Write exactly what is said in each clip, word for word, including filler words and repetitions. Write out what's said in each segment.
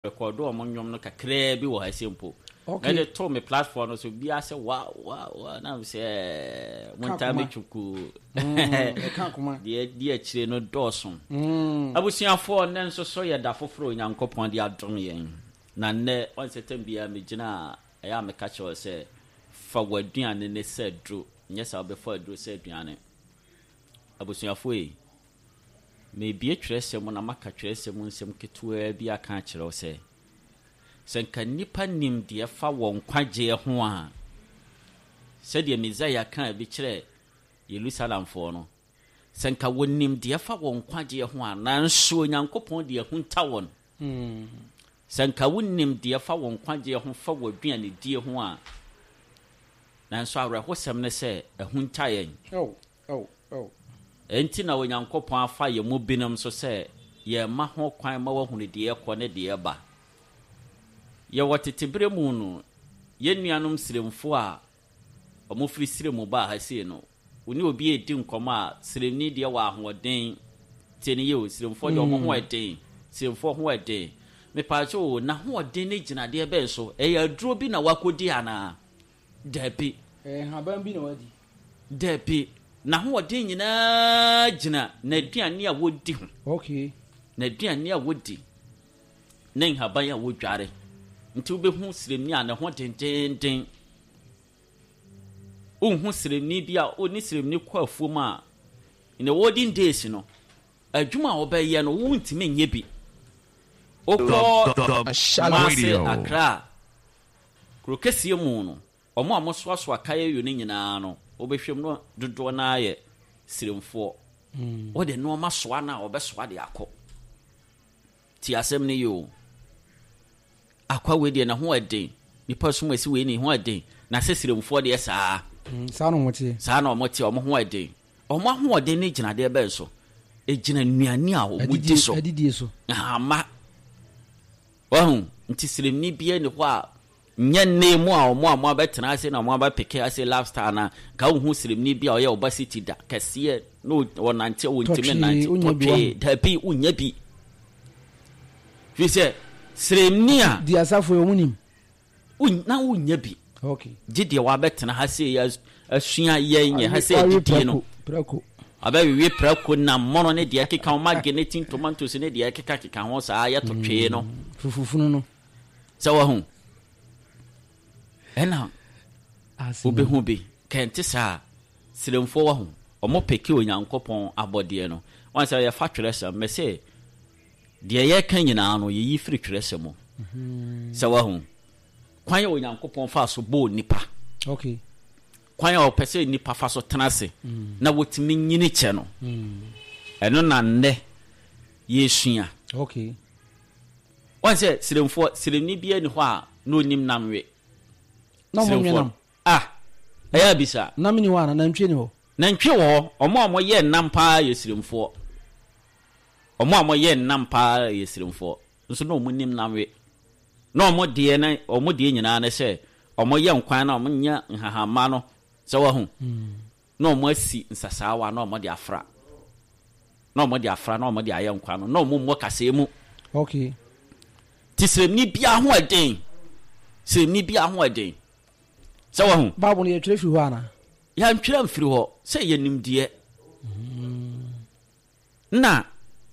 Record wɔn nnwom no kakraa bi wɔ ha se mpo. Okay. Mɛde to me platform no so, biara sɛ wa wa wa na sɛ ɛɛ montaa Ka me twuku. Mm, ɛka akoma. Deɛ di akyire no dɔɔso. Mm. Abusuafoɔ, nnɛ nso so yɛ da foforɔ Onyankopɔn de adom yɛn. Na nnɛ wɔn sɛ tɛm biara megyina a, ɛyɛ a meka kyerɛ wo sɛ fa w'aduane ne sɛ aduro, nyɛ sɛ wobɛfa aduro sɛ aduane. Abusuafoɔ yi, mebie twerɛsɛm mu na maka twerɛsɛm mu nsɛm ketewaa bi aka akyerɛ wo sɛ sɛ nka nnipa nim deɛ fa wɔn nkwagyeɛ ho a, sɛdeɛ Mesaia kaa bi kyerɛ Yerusalemfoɔ no, sɛ nka wɔnim deɛ fa wɔn nkwagyeɛ ho a, nanso Onyankopɔn de ahunta wɔn. Mm. Sɛ nka wonim deɛ fa wɔn nkwagyeɛ ho fa wɔ aduanedie ho a, nanso awerɛhosɛm ne sɛ ahunta yɛn. Oh, oh, oh. Enti na Onyankopɔn afa yɛn mu binom so sɛ yɛmma ho kwan ma wɔahunu deɛ ɛkɔ ne deɛ ɛba. Yɛwɔ tete berɛ mu no, yɛn nuanom Siremfoɔ a wɔfiri Sirem baa ha sei no, wo ne obi redi nkɔmmɔ a, Siremni deɛ wɔ ahoɔden. Tie ne yie o, Siremfoɔ deɛ wɔn ho ɛden. Siremfoɔ ho ɛden. Mepaakyɛw o, n'ahoɔden ne gyinadeɛ bɛn so? Ɛyɛ aduro bi na wakɔdi anaa? Dabi. Ɛyɛ nhaban bi na wadi. Dabi. N'ahoɔden nyinaa gyina n'aduane a wɔdi ho. Okay. N'aduane a wɔdi ne nhaban a wɔdware. Nti wobɛhu siremni a ne ho dendenden. Wonhu siremni bi a ɔne siremni kɔ afuom a, in the olden days no, adwuma a wɔbɛyɛ no, wontumi nyɛ bi. Wokɔ The Kumase, Radio. Accra, kuro kɛseɛ mu no, ɔmo a mosoasoa kayayo no nyinaa no, wobɛhwɛ mu no, dodoɔ no ara yɛ siremfoɔ. Mm. Wɔde nneɛma soa no a, wɔbɛsoa de akɔ. Ti asɛm no yie o. Akwa wei deɛ ne ho ɛden, nipa som asi wei ne ho ɛden, na sɛ siremfoɔ deɛ saa. Mm. Saa na wɔn teɛ. Saa na ɔmo te, ɔmo ho ɛden. Ɔmo ahoɔden ne gyinadeɛ bɛn so? Egyina nnuane a ɔmo di so. Adidie so. Ahama wahu. Nti siremni biara ni hɔ a nyɛ nne mu a ɔmo a mo abɛtena ase na ɔmo abɛpeke ase lifestyle na ka wohu siremni bi a ɔyɛ ɔba city da kɛseɛ na ɔnante a wɔntumi Tɔtwee, nante. wonya bi. Tɔtwee dabi, wonya bi, fi sɛ siremni a Di asafo yi, wɔn nim. won- na wonya bi. Okay. Gye deɛ wabɛtena ha sei as- asua yɛn yɛ ha sɛ Wawe adidie no. Prɛko. Prɛko. Abɛwewe prɛko nam mono ne deɛ ɛkeka ho, mage ne tin tomatoes ne deɛ ɛkeka keka ho saa yɛ tɔtwee no. Fufufunu no. Sɛ wahu ɛna Ase. Wobɛhu bi kɛnte saa siremfoɔ wahu ɔmo peke Onyankopɔn abɔdeɛ no wɔn sɛ yɛfa twerɛsɛm mɛ sɛ deɛ yɛka nyinaa no, yɛyi firi twerɛsɛm mu sɛ wahu kwan a Onyankopɔn fa so bɔɔ nipa, Okay. kwan a ɔpɛ sɛ nipa fa so tena ase na wɔtumi nyini kyɛ no. Mm. Ɛno na nnɛ yɛsua. Okay. Wɔn sɛ siremfoɔ, siremni biara ni hɔ a na onim nam we. Na wɔn nwe nam. Ah, ɛyɛ abisa. Nam ni hɔ ana? Nantwie ni hɔ? Nantwie wɔ hɔ. Ɔmo a wɔyɛ nam paa yɛ siremfoɔ. Ɔmo a wɔyɛ nam paa yɛ siremfoɔ nso na ɔmo nim nam we, na ɔmo deɛ na ɔmo deɛ nyinaa ne sɛ ɔmo yɛ nkwan na ɔmo nya nhahamma no sɛ wɔho na ɔmo asi nsasaawa na ɔmo de afra na ɔmo de afra na ɔmo de ayɛ nkwan no na ɔmo mmɔ kaseɛ mu. Okay. Ti siremni biara ho ɛden, siremni biara ho ɛden sɛ wɔho. Baabu no yɛtwerɛ firi hɔ ana? Yɛntwerɛ mfiri hɔ sɛ yɛ nimdeɛ na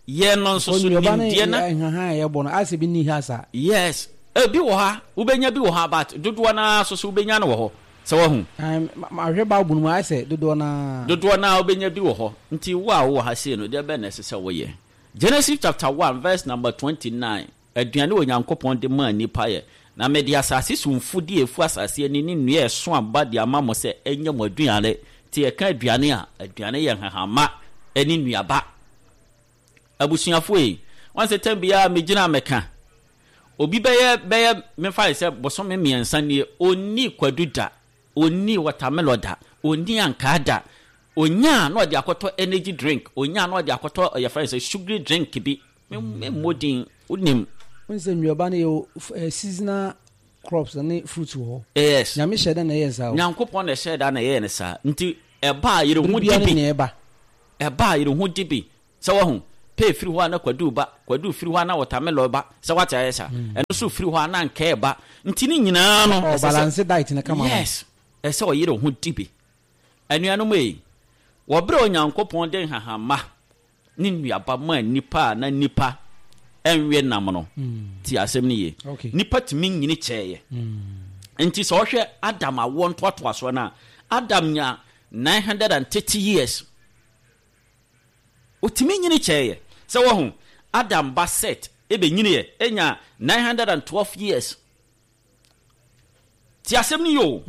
yɛn no nso so Nnuaba ne nimdeɛ na nhahan a yɛbɔ no asɛ bi ni ha saa. Yes, ebi wɔ ha, wobɛnya bi wɔ ha, but dodoɔ naa so so wobɛnya no wɔ hɔ sɛ wahu. Ɛn, ma- mahwɛ baabu no mu ayɛ sɛ dodoɔ naa. Dodoɔ naa wobɛnya bi wɔ hɔ. Nti wo a wowɔ ha sei no, deɛ bɛn na ɛsɛ sɛ woyɛ? Genesis chapter one verse number twenty-nine, aduane wɔ Nyankopɔn de maa nipa yɛ, na mede asase so mfudeɛ efu asase ani ne nnua a ɛso aba de ama mo sɛ ɛnyɛ mo aduane. Nti yɛka aduane a, aduane yɛ nhahama ne nnuaba. Abusuafoɔ yi, wɔn sɛ tɛm biara megyina mɛka obi bɛyɛ bɛyɛ mefa sɛ bosome mmiɛnsa nie, onni kwadu da, onni watermelon da, onni ankaa da. Onyaa na ɔde akɔtɔ energy drink, onyaa na ɔde akɔtɔ yɛfrɛ no sɛ sugary drink bi. Memmɔ din, wonim. Wɔn sɛ nnuaba no yɛ eh, seasonal crops ne fruits wɔ hɔ. Yes. Nyame hyɛ dɛ na ɛyɛ saa o. Nyankopɔn na ɛhyɛ da na ɛyɛ ne saa. Nti ɛba a yere ho Bere di biara ne bi. nea ɛba. Ɛba a yere ho di bi sɛ wahu. Pay firi hɔ a na kwadu ba, kwadu firi hɔ a na watermelon ba. Sɛ wate ayɛ sa, ɛno nso firi hɔ a na nkɛɛ ba. Nti ne nyinaa no ɔ ɛsɛ sɛ balance diet ne kama. Yes, ɛsɛ ɔyere ho di bi. Anuanom yi, wɔberɛ Onyankopɔn de nhahama ne nnuaba maa nipa a na nipa ɛnwe nam no, ti asɛm no yie. Okay. Nipa tumi nyini kyɛɛyɛ. Nti sɛ ɔhwɛ Adam awoɔ ntoatoasoɔ no a, Adam nya nine hundred and thirty years, ɔtumi nyini kyɛɛyɛ. Sɛ wɔho Adam ba Set ɛbɛnyiniɛ ɛnya nine hundred and twelve years. Ti asɛm no yie o.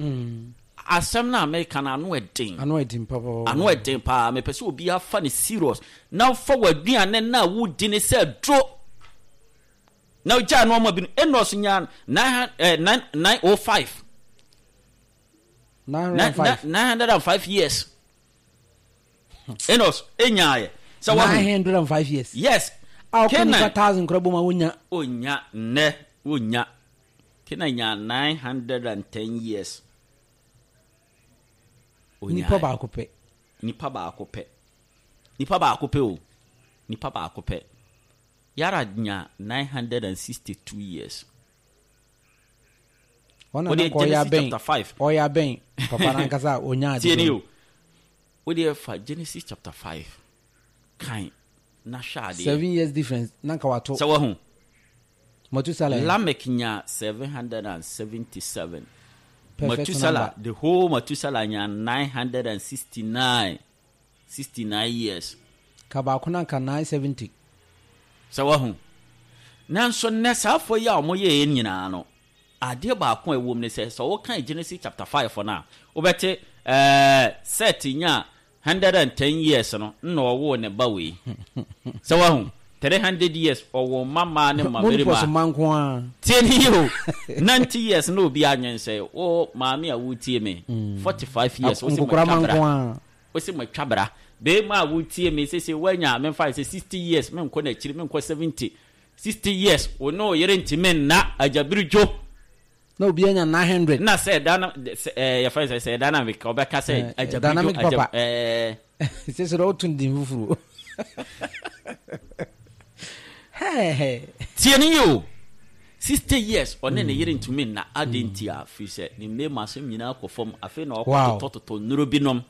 Asɛm no a meka no, ano ɛden. Ano ɛden papa. Ano ɛden paa. Mepɛ sɛ obiara fa ne serious na fa w'aduane no a wodi ne sɛ duro na ogyaa nneɛma bi no. Enos nya nine oh five. Nine hundred and five. Nine hundred and five years Enos enyaayɛ. Sɛ wahu nine hundred and five years. Yes. A ɔkɔ Kenan nipa thousand kora bɔ ma wonya. Onya nnɛ onya. Kenan nya nine hundred and ten years. Nipa baako pɛ. Nipa baako pɛ, nipa baako pɛ o, nipa baako pɛ. Yara nya nine hundred and sixty two years. Ɔna Wode na kɔ ɔyɛ Genesis abɛn chapter five. Ɔyɛ abɛn papa nankasa a onya ade. Tie ni do. o, wode fa Genesis chapter five kan na hwɛ adeɛ. Seven years difference na nka wato. Sɛ wahu Matusala yɛ. Lamek nya seven hundred and seventy-seven. Perfect Matusala number. The whole Matusala nya nine hundred and sixty-nine, sixty-nine years. Ka baako na nka nine seventy. Sɛ wahu, nanso nnɛ saafoɔ yi a wɔyɛɛ nyinaa no, adeɛ baako a ɛwɔ mu ne sɛ, sɛ wokan Genesis chapter five no a, wobɛte ɛɛ Set nya hundred and ten years no nna ɔwoo ne ba wei. Sɛ wahu, three hundred years ɔwɔ mma mmaa ne mma Monopɔs mmarima. Ma nko a. Tie ne yi o, ninety years na obi anwensɛ. Wo maame a wotie me, forty-five years wo sɛ nkokora ma matwa bra nko a. Wo sɛ matwa bra. Bɛrima a wotie me sese, woanya memfa sɛ sixty years, menkɔ n'akyiri, menkɔ seventy, sixty years, wo ne wo yere ntimi nna agyabiri dwo. Na obi anya nine hundred. Na sɛ ɛda no sɛ ɛɛ yɛfrɛ sɛ sɛ ɛda no a ɔbɛka sɛ Eh, agyabiri dwo dynamic agya papa. ɛɛ sɛ sɛ woto no din foforɔ. Hɛhɛ. Tie ne yi o, sixty years ɔne ne yere ntumi nna ade. Nti a firi sɛ ne mmarima asɛm nyinaa kɔ fam. Afei na Wow. ɔkɔtotɔtotɔ nnuro binom.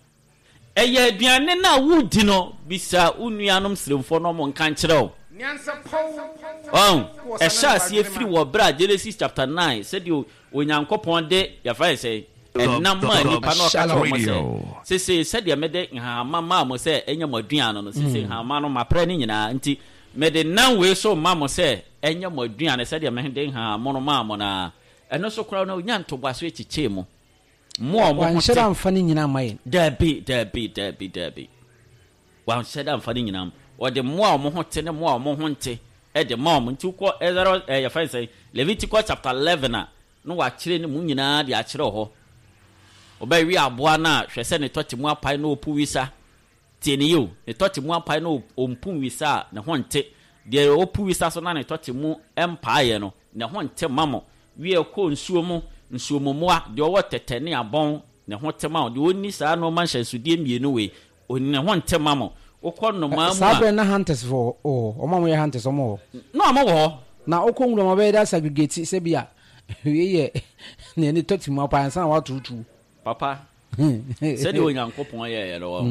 Ɛyɛ aduane no a wodi no. Bisa wo nuanom sremfoɔ no, ɔmo nka nkyerɛ wo. Ɔn ɛhyɛ aseɛ firi wɔ berɛ a Genesis chapter nine, sɛdeɛ Onyankopɔn de yɛfa yɛ sɛ ɛnam maa nipa na ɔka kyerɛ ɔmo sɛ, sese sɛdeɛ mede nhahama maa mo sɛ ɛnyɛ mo aduane no, sese nhahama no maprɛ ne nyinaa, nti mede nam wei so ma mo sɛ ɛnyɛ mo aduane sɛdeɛ mede nhahama no maa mo naa. Ɛno so koraa no, onya ntoboaso akyikyee mu mo a ɔmo ho wanhyɛ te. Da mfa no nyinaa ma yɛn. Dabi, dabi, dabi, dabi, wanhyɛ da mfa ne nyinaa. Ɔde mmoa a ɔmo ho te ne mmoa a ɔmo ho nte ɛde ma ɔmo. Nti wokɔ Exodus, ɛɛ yɛfrɛ no sɛ Leviticus chapter eleven a, na wakyerɛ ne mu nyinaa de akyerɛ hɔ. Ɔbɛwe aboa no a, hwɛ sɛ ne tɔte mu apae na ɔpu wisa. Tie ne yie o, ne tɔte mu apae na ɔmpu wisa a, ne ho nte. Deɛ ɔpu wisa so na ne tɔte mu mpaeɛ no, ne ho nte ma mo. Wie kɔ nsuo mu, nsuo mu mmoa deɛ ɔwɔ tɛtɛ ne abɔn, ne ho te ma wo. Deɛ ɔnni saa nneɛma nhyɛnsodeɛ mmienu wei, ne ho nte ma mo. Wokɔ nnomaa mu saa a berɛ na hunters fo wɔ hɔ, ɔmo a moyɛ hunters, ɔmo wɔ hɔ. Na ɔmo wɔ hɔ. Na wokɔ nwura ma bɛyɛ da segregate sɛ bi a wei yɛ nea ne tɔte mu apa ansa na woatoto. Papa, sɛdeɛ Onyankopɔn yɛeɛ no wɔ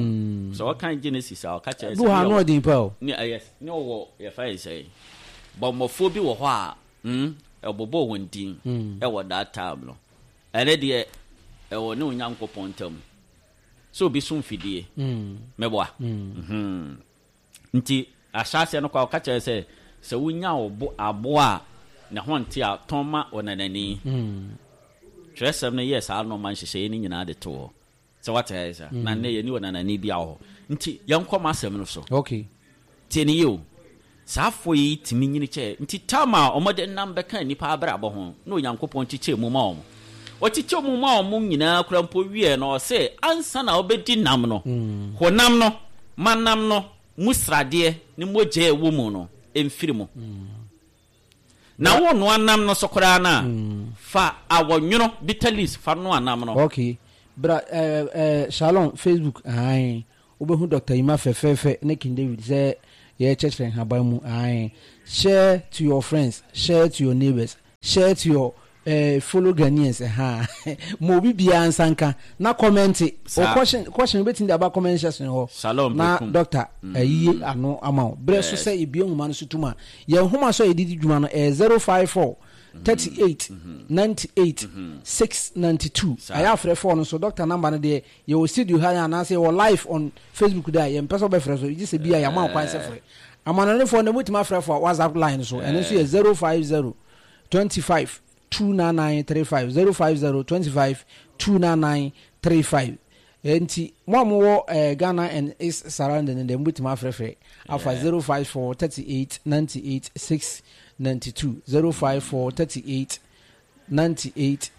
sɛ ɔka Genesis a, ɔka kyerɛ bi wɔ ha ne no ɔden pa o. Ne ɛyɛ ne ɔwɔ yɛfa yɛ sɛ bɔmmɔfoɔ bi wɔ hɔ a mm, ɛbobɔ wɔn din ɛwɔ that time no. Ɛne deɛ ɛwɔ ne Onyankopɔn ntam sɛ obi so mfidie mɛboa. Mhm. Nti ahyɛaseɛ no kɔ a, ɔka kyerɛ sɛ sɛ wonya wo bo aboa a ne ho nte a, tɔn ma ɔnanani. Twerɛsɛm no yɛ saa nɔɔma nhyehyɛeɛ no nyinaa de to hɔ sɛ wate ayɛ sa. Na nnɛ yɛni ɔnanani bi wɔ hɔ, nti yɛnkɔ ma asɛm no so. Okay tie ne yie o, saa afɔ yi tumi nyini kyɛ. Nti tam a ɔmɔde nam bɛka nnipa abrabɔ ho na Onyankopɔn kyekyɛ mu ma ɔmo, ɔkyekyɛ mu ma ɔmo nyinaa kora mpo wie no, ɔsɛ ansa na ɔbɛdi nam no, honam no ma nam no mu sradeɛ ne mogya a ɛwɔ mu no ɛmfiri mu. Na wo noa nam no so koraa no a, fa awɔnwono, bitter leaves, fa noa nam no. Okay, bra eh, eh, Shalom Facebook ahan, wobɛhu Doctor Yima fɛfɛɛfɛ ne King David sɛ Yɛkyerɛkyerɛ nhaban mu. Ae, share to your friends, share to your neighbors, share to your uh, fellow Ghanaians. Ha ma obi biara nsa nka na comment o question. Question wobɛtumi de aba comment section hɔ. Shalom. Na Bekum. Doctor ayiye ano ama wo berɛ so sɛ yɛbue nhoma no so tom a, yɛn nhoma so a yɛde di dwuma no ɛyɛ zero five four thirty-eight ninety-eight six ninety-two. Saa. Ɛyɛ afrɛfoɔ no so, doctor number no deɛ, yɛwɔ studio ha anaasɛ yɛwɔ live on Facebook da a, yɛmpɛ sɛ wobɛfrɛ so gye sɛ bi a yɛama wo kwan sɛ frɛ. Amanɔnefoɔ no motumi afrɛfoɔ a WhatsApp line so, ɛno nso yɛ zero five zero twenty-five two nine nine three five, zero five zero twenty-five two nine nine three five. Nti mo a mowɔ eh, Ghana and its surrounding no deɛ, mobɛtumi afrɛfrɛ afa zero five four thirty-eight ninety-eight six ninety-two, zero five four thirty-eight ninety-eight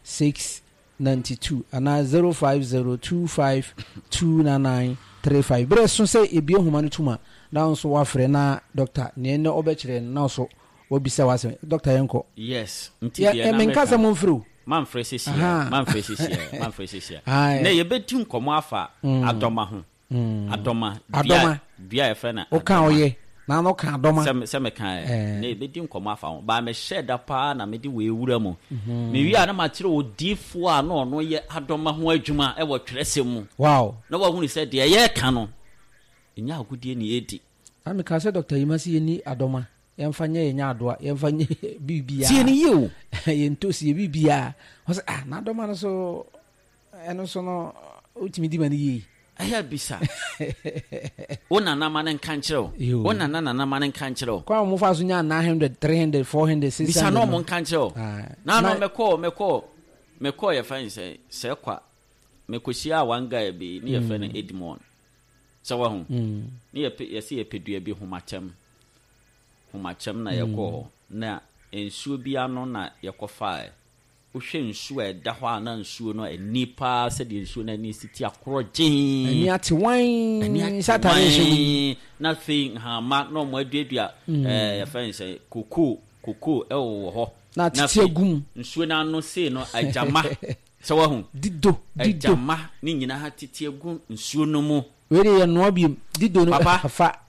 six ninety-two anaa zero five zero twenty-five two nine nine three five. Berɛ so sɛ ebie nhoma no tum a, na wo nso woafrɛ na doctor neɛ nnɛ ɔbɛkyerɛ no na wo so wabisa w'asɛm. Doctor, yɛnkɔ. Yes, nti Yɛ- deɛ ɛ, na menka meka sɛ momfrɛ o. Mamfrɛ sesia. Aha. Mamfrɛ sesia, mamfrɛ sesia. Aye. Na yɛbɛdi nkɔmmɔ afa adɔma ho, adɔma. Adɔma. Dua, dua a yɛfrɛ no woka adɔma. Ɔyɛ na na woka adɔma. Sɛ sɛ meka ɛ Eh. na yɛbɛdi nkɔmmɔ afa ho baa mehyɛ da paa na mede wei wura mu. Mewie a, na makyerɛ odiifoɔ a na ɔno yɛ adɔma ho adwuma ɛwɔ twerɛsɛm mu wow na wahunu sɛ deɛ yɛreka no ɛnyɛ agodie ne yɛdi. Na meka sɛ Doctor Yima sɛ yɛni adɔma, yɛmfa nyɛ yɛnya adoa, yɛmfa nyɛ biribiaa. Tie ne yie o. Yɛntosi yɛ biribiaa. Ɔ sɛ ah, na adɔma no so, ɛno so no wotumi di ma no yie. Ɛyɛ bisa wo nanama no nka nkyerɛ wo. Yo. Wo nana nanama no nka nkyerɛ wo. Kwan a wɔfa so nya nine hundred, three hundred, four hundred, six hundred. Bisa na ɔmo nka nkyerɛ wo. Ah. Na no Na- mekɔɔ mekɔɔ mekɔɔ yɛfrɛ no sɛ sɛ kwa mekɔhyia one guy bi ne yɛfrɛ no Edmond sɛ wahu Mm. ne yɛpɛ yɛsɛ yɛpɛ dua bi homakyɛm, homakyɛm na yɛkɔɔ hɔ na nsuo bi ano na yɛkɔfae. Wohwɛ nsuo a ɛda hɔ a, na nsuo no ani paa sɛdeɛ nsuo no ani si ti akorɔ gyee. Ani ate wan. Ani ate. Sɛ atare hyɛ mu yi. Wan. Na afei nhama na ɔmo aduadua ɛɛ yɛfrɛ no sɛ kokoo, kokoo ɛwɔ hɔ. Na atete afei agu mu. Nsuo no ano sei no agyama sɛ wahu. Dido dido. Agyama ne nyinaa tete agu nsuo no mu. Wei de yɛ noa biom dido no. Papa. Fa.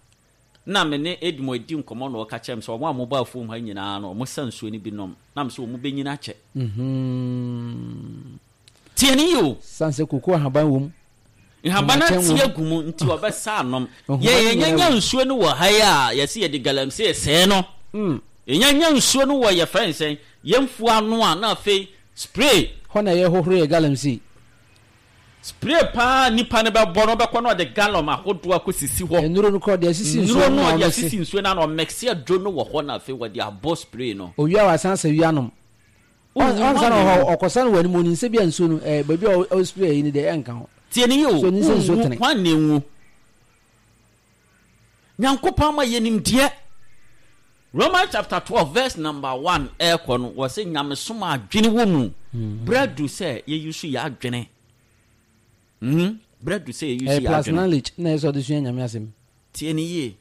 Na me ne Edmo di nkɔmmɔ na ɔka kyerɛ me sɛ ɔmo a mobɔ afuom ha nyinaa no, ɔmo sa nsuo no bi nom nam sɛ ɔmo bɛnyina akyɛ. Mhm. Tie ne yi o. San sɛ koko ahaban wɔ mu. Nhaban no Nhaban ate wɔ mu. agu mu nti ɔbɛsa anom. Nhaban yɛ nyinaa yɛnyanya wɔ mu. Nsuo no wɔ ha yi a yɛsɛ yɛde galamsey sɛɛ no. Mm. Yɛnyanya nsuo no wɔ yɛfrɛ nsɛn yɛmfuo ano a, na afei spray. Hɔ na yɛhohoro yɛ galamsey. Spray paa nipa no bɛbɔ no, ɔbɛkɔ na ɔde gallon ahodoɔ akɔsisi hɔ. Nnuro no korɔ deɛ asisi nsuo nnuro no no na ɔde ɔmɛse. asisi nsuo no ano, ɔmɛkse aduro no wɔ hɔ na afei wɔde abɔ spray no. Owia wasan sɛ wia nom. Wohu ɔnsa na hwan ɔhɔ ɔkɔsa no wɔ anim, onim sɛ bi a nsuo no ɛɛ baabi a ɔ spray yi ni deɛ ɛnka ho. Tie ne yie o. So ni sɛ nsuo Wonwu, tene. hwan na enwu? Nyankopɔn ama yɛ nimdeɛ. Romans chapter twelve verse number one ɛɛkɔ no, wɔ sɛ nyamesom a adwene wɔ mu. Berɛ du sɛ yɛyi so yɛ adwene. Mhm. Berɛ du sɛ yɛyi so ɛyɛ yɛ plus adwene. Knowledge na ɛsɛ ɔde sua Nyame asɛm. Tie ne yie.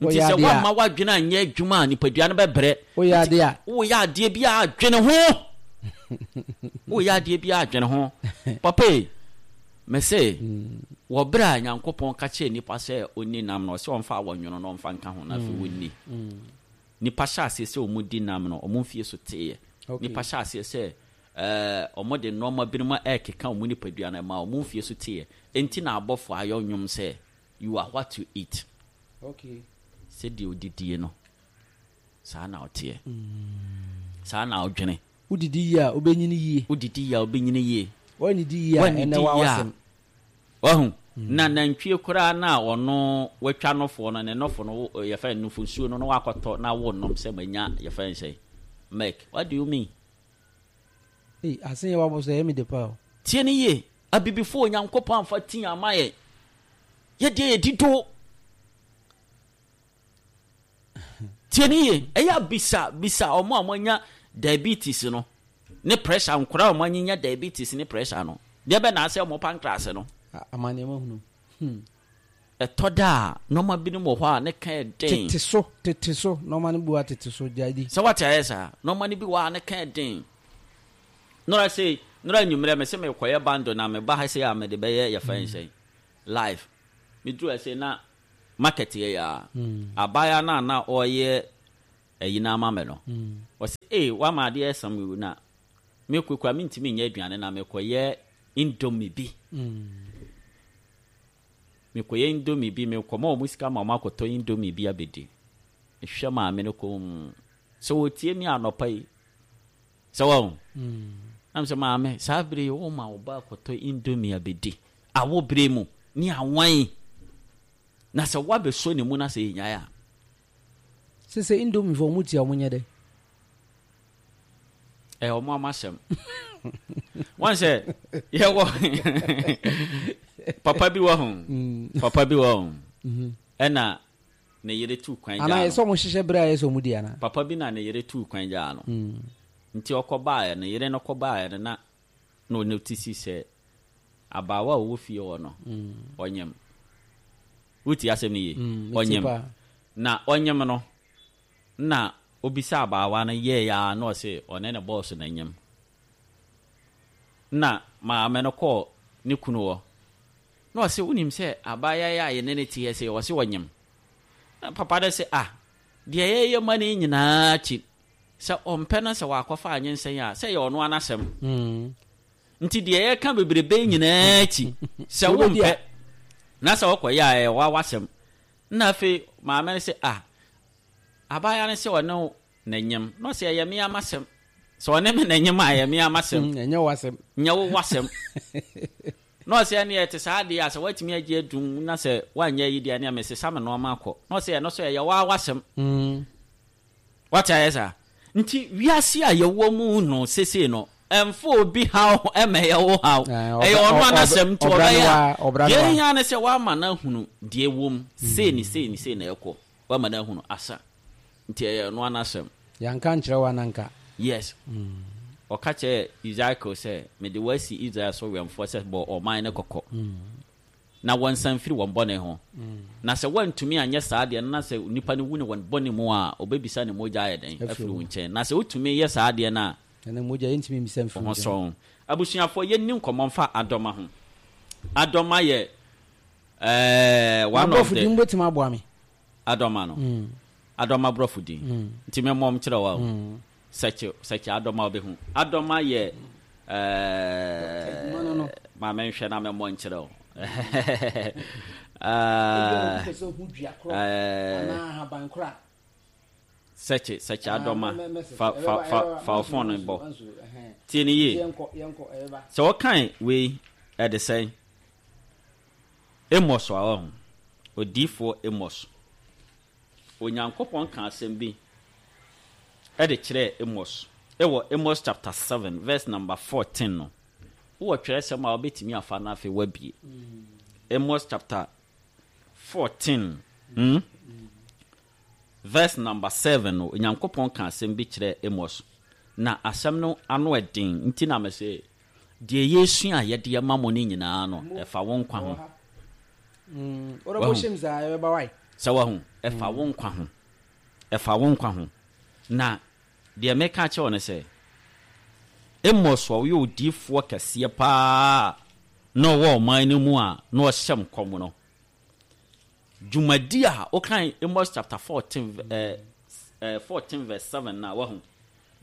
Nti Woyɛ sɛ adeɛ a- woamma w'adwene anyɛ adwuma a, nipadua no bɛbrɛ. Woyɛ Nti adeɛ a- woyɛ adeɛ bi a, adwene ho. Woyɛ adeɛ bi a, adwene ho. Papa yi, mese wɔ berɛ a Nyankopɔn ka kyerɛ nipa sɛ ɔnni nam no, ɔsɛ ɔmfa awɔnwono na ɔmfa nka ho na afei wɔnni. Nipa hyɛ aseɛ sɛ ɔmu di nam no, ɔmo mfie so teeɛ. Okay. Nipa hyɛ aseɛ sɛ ɛɛ ɔmo de nneɛma binom ɛɛkeka ɔmo nipadua no ma ɔmo mfie so teeɛ. Enti na abɔfo ayɔ nnwom sɛ "You are what you eat." Okay. Sɛdeɛ odidie no, saa na ɔteɛ, saa na ɔdwene. Wodidi yie a, wobɛnyini yie. Wodidi yie a, wobɛnyini yie. Woannidi yie a, Woannidi ɛnɛ wa yie a, wasɛm. Wahu na nantwie koraa na ɔno watwa nɔfoɔ no, ne nɔfo no wo- yɛfrɛ no nufosuo no na wakɔtɔ na wo nom sɛ manya yɛfrɛ no sɛ milk. What do you mean? Ei, asen yɛ wabɔ so ɛyɛ me de pa o. Tie ne yie, abibifoɔ, Onyankopɔn amfa tii ama yɛ, yɛdeɛ yɛdi do. Tie ne yie, ɛyɛ abisa bisa ɔmo a moanya diabetes no ne pressure, nkora a ɔmo anyinya diabetes ne pressure no deɛ bɛ na asɛ ɔmo pancreas no. A- amanneɛma hunu Hmm. Ɛtɔ da a, nneɛma binom wɔ hɔ a ne ka yɛ den. Tete so, tete so nɔɔma no bu a, tete so gya di. Sɛ wate ayɛ saa, nneɛma no bi wɔ a ne ka yɛ den. Nora sɛ nora anwummerɛ me sɛ mekɔyɛ bando na meba ha sɛ a mede bɛyɛ yɛfrɛ nsɛn live, meduru ase na Market yɛ yɛ a, abaayewa no a na ɔreyɛ ayi no ama me no, ɔsɛ ee, wama adeɛ ɛsam yi na mekɔ kura mentumi nyɛ aduane na mekɔyɛ Indomie bi. Mekɔyɛ Indomie bi, mekɔma ɔmo sika ma ɔmo akɔtɔ Indomie bi abɛdi. Mehwɛ maame no kɔn sɛ wɔtie mi anɔpa yi sɛ wɔn nam sɛ, "Maame, saa bere yi woma wo ba akɔtɔ Indomie abɛdi awo bere mu ne awan na sɛ woabɛsɔ ne mu na sɛ yɛnyae a?" Sɛ sɛ Indomie fo, ɔmo tia, ɔmo nyɛ dɛ. Ɛyɛ ɔmo ama asɛm wɔn sɛ yɛwɔ papa bi wɔ ho, papa bi wɔ ho, ɛna ne yere tu kwan anaa gyaa yɛ sɛ no. Ɔmo hyehyɛ berɛ a yɛ sɛ ɔmo di anaa? Papa bi na ne yere tu kwan gyaa no, nti ɔkɔ baeɛ no, yere no kɔ baeɛ no, na na ɔne ti si sɛ abaawa a ɔwɔ fie hɔ no ɔnyam. Wotie asɛm no yie? Metie. Ɔnyam. Paa. Na ɔnyam no na obisa abaawa no yɛɛ ya na ɔse ɔne ne bɔɔso na nyam. Na maame no kɔɔ ne kunu hɔ na ɔse, "Wonim sɛ abaayewa yi a yɛne ne te sɛ ɔse ɔnyam?" Na papa no sɛ, "Ah, deɛ yɛyɛ ma no yi nyinaa akyi sɛ ɔmpɛ no sɛ wakɔfa anyinsɛn a, sɛ yɛ ɔno anasɛm." Mm. Nti deɛ yɛka bebrebe nyinaa akyi sɛ Wobɛdi a- wompɛ na sɛ wokɔyɛ a, ɛyɛ wa wasɛm. Na afei maame no sɛ, "Ah, abaayewa no sɛ ɔne wo n'anyam," na ɔsɛ, "Ɛyɛ me amasɛm sɛ ɔne me n'anyam a, ɛyɛ me amasɛm." Mm, ɛnyɛ w'asɛm. Nyɛ wo wasɛm. Na ɔsɛ, "Ɛne ɛte saa adeɛ a, sɛ woatumi agye adum na sɛ woanyɛ yi deɛ, ne mesesa me nɔɔma akɔ," na ɔsɛ, "Ɛno so ɛyɛ wa wasɛm." Mm. Wate ayɛ saa? Nti wiase a yɛwɔ mu no sesei no, ɛmfa obi haw ɛma ɛyɛ wo haw. Eh, ɛyɛ ɔbra- ɔno ɔ- anasɛm nti ɔbra ne ɔbɛyɛ wa- a ɔbra ne deɛ wa. ɛhia ne sɛ woama no ahunu deɛ wɔ mu, sei ne sei ne sei na ɛkɔ, woama no ahunu asa, nti ɛyɛ ɔno anasɛm. Yɛnka nkyerɛ wo ananka. Yes, ɔka kyerɛ Ezekiel sɛ, "Mede woasi Israel so wɛmfoɔ sɛ bɔ ɔman no kɔkɔ na wɔnsan firi wɔn bɔne ho, na sɛ woantumi anyɛ saa deɛ no na sɛ nipa no wu ne wɔn bɔne mu a, ɔbɛbisa ne mogya ayɛ dɛn afiri afiri wo. Wo nkyɛn. Na sɛ wotumi yɛ saa deɛ no a, ɛnɛ mogya yɛntumi mmisa mfiri ho wo nkyɛn. sɔn. Abusuafoɔ, yɛnni nkɔmmɔ mfa adɔma ho. Adɔma yɛ ɛɛ one of aborɔfo the din bɛtumi aboa me. Adɔma no, Mm. adɔma borɔfo din Mm. nti memmɔm kyerɛ wa o. Mm. Sɛkye sɛkye adɔma, wobɛhu adɔma yɛ No, no, no. ɛɛ ma menhwɛ na memmɔ nkyerɛ wo. Ebi a Ɛɛ, obi pɛ sɛ ohu dua korɔ ɛɛ, anaa ahaban korɔ a. sɛkye sɛkye Ah, adɔma. mɛ- mɛ- fa ɛbɛba- fa fa ɛbɛba. fa wo Manso, phone no manso, bɔ. manso, ɛhɛn. Tie ne yie. Yɛnkɔ, yɛnkɔ, ɛbɛba. Sɛ wɔkan wei ɛde sɛn Amos a, ɔho odiifoɔ Amos, Onyankopɔn ka asɛm bi ɛde kyerɛɛ Amos ɛwɔ Amos chapter seven verse number fourteen no. Wowɔ twerɛsɛm a wobɛtumi afa no, afei woabie Amos chapter fourteen hmm? verse number seven no. Onyankopɔn ka asɛm bi kyerɛɛ Amos na asɛm no ano ɛden, nti na mɛ deɛ yɛsua a yɛde ama mo no nyinaa no, ɛfa wo nkwa ho. Mm, wode Wahu. bɔhyɛm saa, ɛbɛba wae. Sɛ wahu, ɛfa wo nkwa ho, ɛfa wo nkwa ho. Na deɛ meka kyerɛ wo no sɛ Amos a ɔyɛ odiifoɔ kɛseɛ paa na ɔwɔ ɔman no mu a na ɔhyɛ nkɔm no dwumadi a wokan Amos chapter fourteen eh, eh, fourteen verse seven na wahu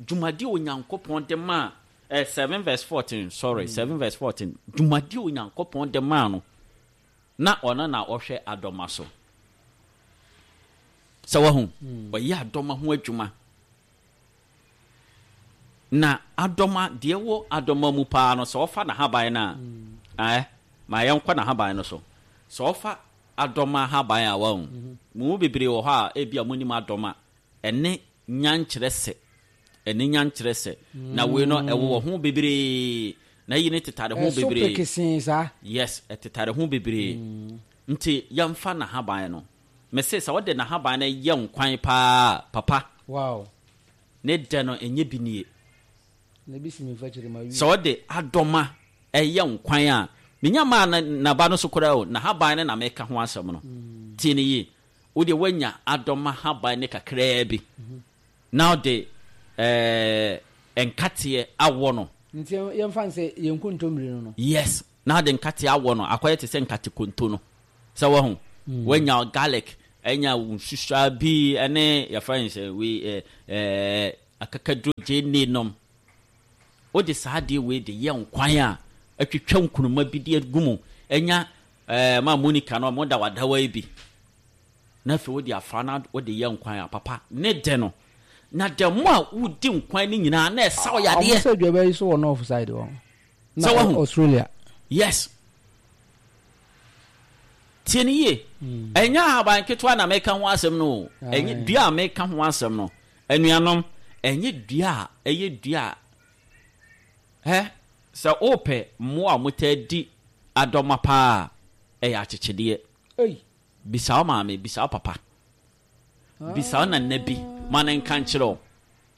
dwumadi a Onyankopɔn de maa eh, seven verse fourteen, sorry, seven verse fourteen, dwumadi a Onyankopɔn de maa no na ɔno na ɔhwɛ adɔma so. Sɛ wahu, ɔyɛ adɔma ho adwuma na adɔma deɛ wɔ adɔma mu paa no, sɛ ɔfa n'ahaban no a, ɛɛ ma yɛnkɔ n'ahaban no so. Sɛ ɔfa adɔma ahaban a, wahu mo mu bebree wɔ hɔ a ebi a monim adɔma ɛne nyankyerɛ sɛ ɛne nyankyerɛ sɛ na wei no ɛwɔ ho bebree na yi ne tetare ho ɛso bebree. Pekesee saa. Yes, ɛtetare ho bebree, nti yɛmfa n'ahaban no. Mese sɛ wode n'ahaban no yɛ nkwan paa, papa, wow ne dɛ no ɛnyɛ bi nie. Na ebi si mi nfa kyerɛ ma wi. Sɛ wode adɔma ɛyɛ nkwan a, menya maa na naba no so koraa o, n'ahaban no na meka ho asɛm no. Tie ne yie, wode woanya adɔma haban ne kakraa bi na wode ɛɛ nkateɛ awɔ no. Nti yɛmfa n sɛ yɛn nkontommire no no. Yes, na wode nkateɛ awɔ no akɔyɛ te sɛ nkate konto no. Sɛ wahu Woanya garlic, anya wo nsusua bi ne yɛfrɛ no sɛ wei ɛ ɛ akakaduro gyeene nom. Wode saa adeɛ wei de yɛ nkwan a, atwitwa nkuruma bi de agu mu, anya ɛɛ ma Monica no ɔmo da wadawa yi bi. Na afei wode afra na wode yɛ nkwan a, papa ne dɛ no. Na dɛ mo a wodi nkwan no nyinaa na ɛsa wo Ɔmo yadeɛ. sɛ aduaba yi so wɔ north side hɔ. Na Sɛ wahu? Australia. Yes. Tie ne yie. Ɛnyɛ ahaban ketewa na meka ho asɛm no o. Ɛnyɛ Aye. dua a meka ho asɛm no. Anuanom, ɛnyɛ dua a ɛyɛ dua a ɛ sɛ wopɛ mmoa a wɔtaa di adɔma paa a, ɛyɛ akyekyedeɛ. Ei. Bisa wo maame, bisa wo papa, bisa wo nana bi ma ne nka nkyerɛ wo.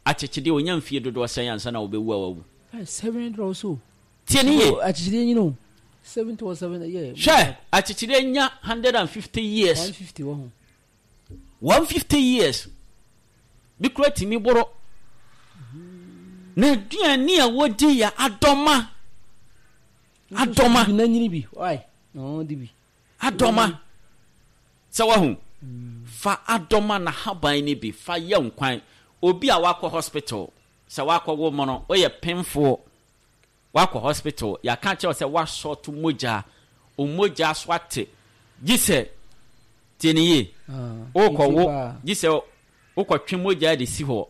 Akyekyedeɛ onya mfie dodoɔ sɛn ansa na wobɛwu a wawu? Hey, seven hundred or so. Tie ne yie. Oh, akyekyedeɛ nyina o. Seventy or seven, yeah. Hwɛ, akyekyedeɛ nya hundred and fifty years. One fifty wɔ ho. one fifty years bi kura tumi boro. Na aduane a wɔdi yɛ adɔma. Adɔma. Bi na nyini bi. Why? No, di bi. Adɔma. Sɛ wahu, fa adɔma na haban no bi fa yɛ nkwan. Obi a wakɔ hospital, sɛ wakɔ wo mu no, woyɛ pemfoɔ, wakɔ hospital, yɛaka kyerɛ wo sɛ wasɔɔto mogya, o mogya so ate, gye sɛ tie ne yie, Ah, wokɔ wo nti paa. gye sɛ wokɔtwe mogya de si hɔ.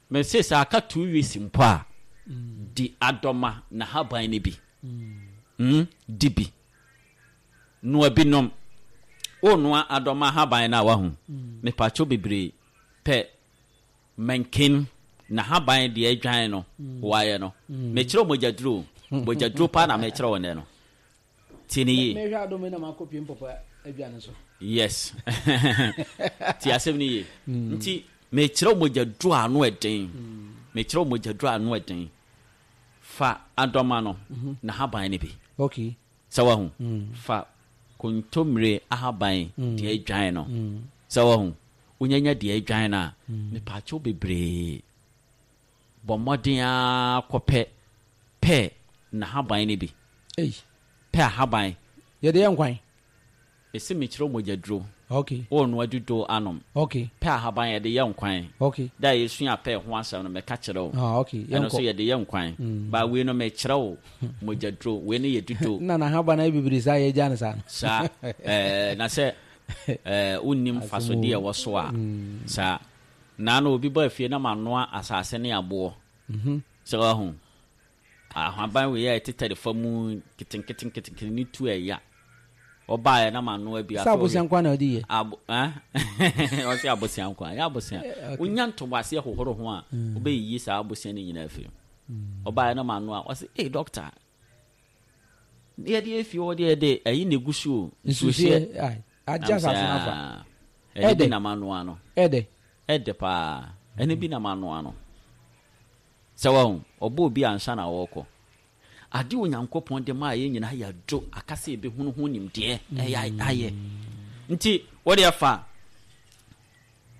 Mese sɛ aka two weeks mpo a, di adɔma na haban no bi. Mm, di bi noa bi nom. Wonoa adɔma haban no a, wahu, mepatwo bebree pɛ mankin na haban deɛ adwan no wayɛ no. Mekyerɛ wo mogyaduro o. Mogyaduro paa na mekyerɛ wo nnɛ no. Tie ne yie. Mehwɛ adɔma yi na makɔ pie mpɔpɔ aduane so. Yes, ti asɛm no yie. Nti mekyerɛ wo mogyaduro a ano ɛden. Mekyerɛ wo mogyaduro a ano ɛden. Fa adɔma no na haban no bi. Okay. Sɛ wahu, fa kontommire ahaban deɛ adwan no. Sɛ wahu, wonyanya deɛ adwan no a, mepaakyɛw bebree, bɔ mmɔden a kɔpɛ pɛ n'ahaban no bi. Ei. Pɛ ahaban. Yɛde yɛ nkwan. Ɛsɛ mekyerɛ wo mogyaduro. Okay. Wɔnoa dudo anom. Okay. Pɛ ahaban, yɛde yɛ nkwan. Okay. Da a yɛsua pɛ ho asɛm no, mɛka kyerɛ wo. Ah, okay. Ɛno nso Yɛnkɔ. yɛde yɛ nkwan ba. Wei no mekyerɛ wo mogyaduro, wei no yɛ dudo. Na n'ahaban ayɛ bebree saa, yɛgya no saa no. Saa ɛɛ na sɛ ɛɛ wonnim fasodeɛ ɛwɔ so a, saa naa no obi bɔ afie na manoa asase ne aboɔ. Sɛ wahu, ahaban wei a ɛtetare fa mu nketenkete ne tu ɛya ɔbaeɛ na manoa bi. Sɛ Afei abosea nkwa na ɔde yɛ. Abo eh ɔsɛ abosea nkwa ɛyɛ abosea. Eh, okay. Wonya ntoboaseɛ hohoro ho a, wobɛyiyi saa abosea no nyinaa afiri mu. Ɔbaeɛ na manoa, ɔsɛ, "Ei doctor, yɛde efie hɔ deɛ, yɛde ɛyi na egu so o, nsuohyɛ." Nsuhyeɛ. Ai. Agye asase no afa. Ɛne bi Ɛdɛ. na manoa no. Ɛdɛ. Ɛdɛ paa. Ɛne bi na manoa no. Sɛ wahu, ɔbɔ obi ansa na wɔrekɔ ade. Onyankopɔn de maa yɛn nyinaa yɛadwo aka sɛ yɛbɛhunu ho nimdeɛ ɛyɛ ayɛ. Nti wode afa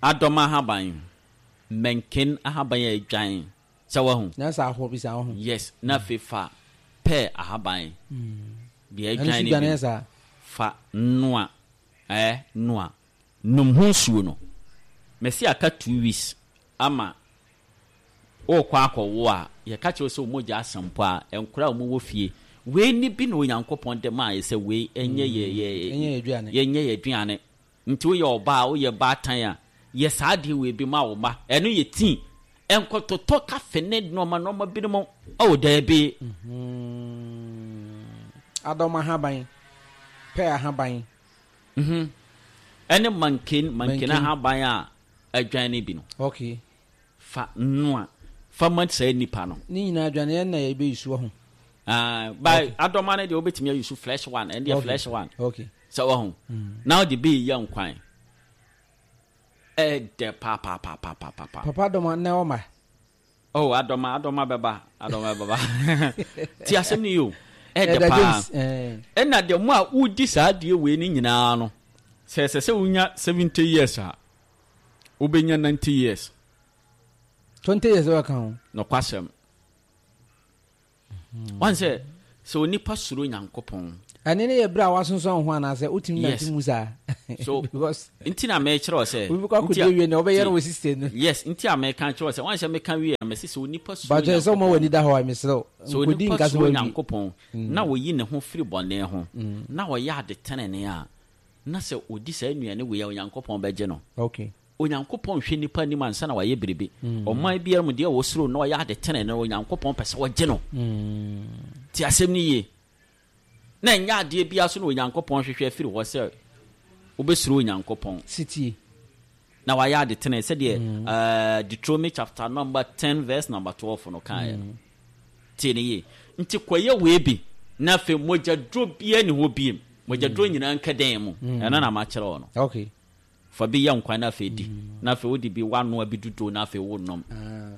adɔma ahaban, mɛnken ahaban a adwan, sɛ wahu. Na sɛ ahɔ bi saa ho. Yes, na afei fa pɛɛ ahaban deɛ Ɛno adwan nso no dwane bi. yɛ saa. Fa noa, ɛɛ noa nom ho nsuo no. Mɛsi aka two weeks ama wokɔ akɔwo a, yɛka kyerɛ wo sɛ wo mogya asa mpo a, nkora a wɔwɔ fie wei ni bi na Onyankopɔn de maa yɛ sɛ wei ɛnyɛ yɛ yɛ Ɛnyɛ yɛ aduane. Yɛnyɛ yɛ aduane. Nti woyɛ ɔbaa, woyɛ baatan a, yɛ saa adeɛ wei bi ma wo ma ɛno yɛ tii. Ɛnkɔtotɔ kafe ne nneɛma nneɛma binom. Ɔwɔ daabi. Adɔma ahaban, pɛ ahaban. Mhm. Ɛne manken manken Manken. ahaban a adwan no bi no. Okay. Fa noa fa ma saa nipa no. Ne nyinaa aduane yɛn na yɛbɛyi so ho. Ah, ba adɔma no deɛ, wobɛtumi ayi so fresh one. Ɛno deɛ Okay. fresh one. Okay. Sɛ wahu, na wode bi yɛ nkwan, ɛdɛ paapaapaapapapa. Papa, adɔma na ɔma. Oh, adɔma, adɔma bɛba, adɔma bɛba. Ti asɛm no yi o, ɛdɛ Ɛda paa. James. Eh. Ɛna deɛ mo a wodi saa adeɛ wei no nyinaa no, sɛ ɛsɛ sɛ wonya seventy years a, wobɛnya ninety years. Twenty years bɛka ho. Nɔkwasɛm wan sɛ sɛ onipa suro Nyankopɔn Ɛne ne yɛ berɛ a wasonsɔn ho anaasɛ wotumi nante mu saa? So because nti na mɛkyerɛ wo sɛ obi kɔ nti akɔdi a awie nea ɔbɛyɛ no tie wɔ system no. Yes, nti a mɛka kyerɛ wo sɛ wansɛ mɛka wie a, mɛsi sɛ onipa suro Bakyɛ sɛ woma Nyankopɔn. W'ani da hɔ a, mesrɛ wo, Sɛ nkɔdi onipa nka sɛ suro wawie. Nyankopɔn na oyi ne ho firi bɔne ho na ɔyɛ ade tenene a, na sɛ ɔdi saa nnuane wei a, Onyankopɔn bɛgye no. Okay. Onyankopɔn hwɛ nipa anim ansa na wayɛ biribi. Ɔman biara mu deɛ wɔsuro na ɔyɛ ade tenene no, Onyankopɔn pɛ sɛ ɔgye no. Ti asɛm no yie. Na ɛnyɛ adeɛ biara so na Onyankopɔn hwehwɛ afiri hɔ sɛ wobɛsuro Onyankopɔn sitie na wayɛ ade tene sɛdeɛ uh, Deuteronomy chapter number ten verse number twelve no kaeɛ no. Tie ne yie. Nti kɔyɛ wei bi na afei mogyaduro biara ni hɔ biem. Mogyaduro nyinaa nka dan mu. Ɛno na makyerɛ wo no. Okay. Fa bi yɛ nkwan na afei di, na afei wode bi wanoa bi dodo na afei wonom,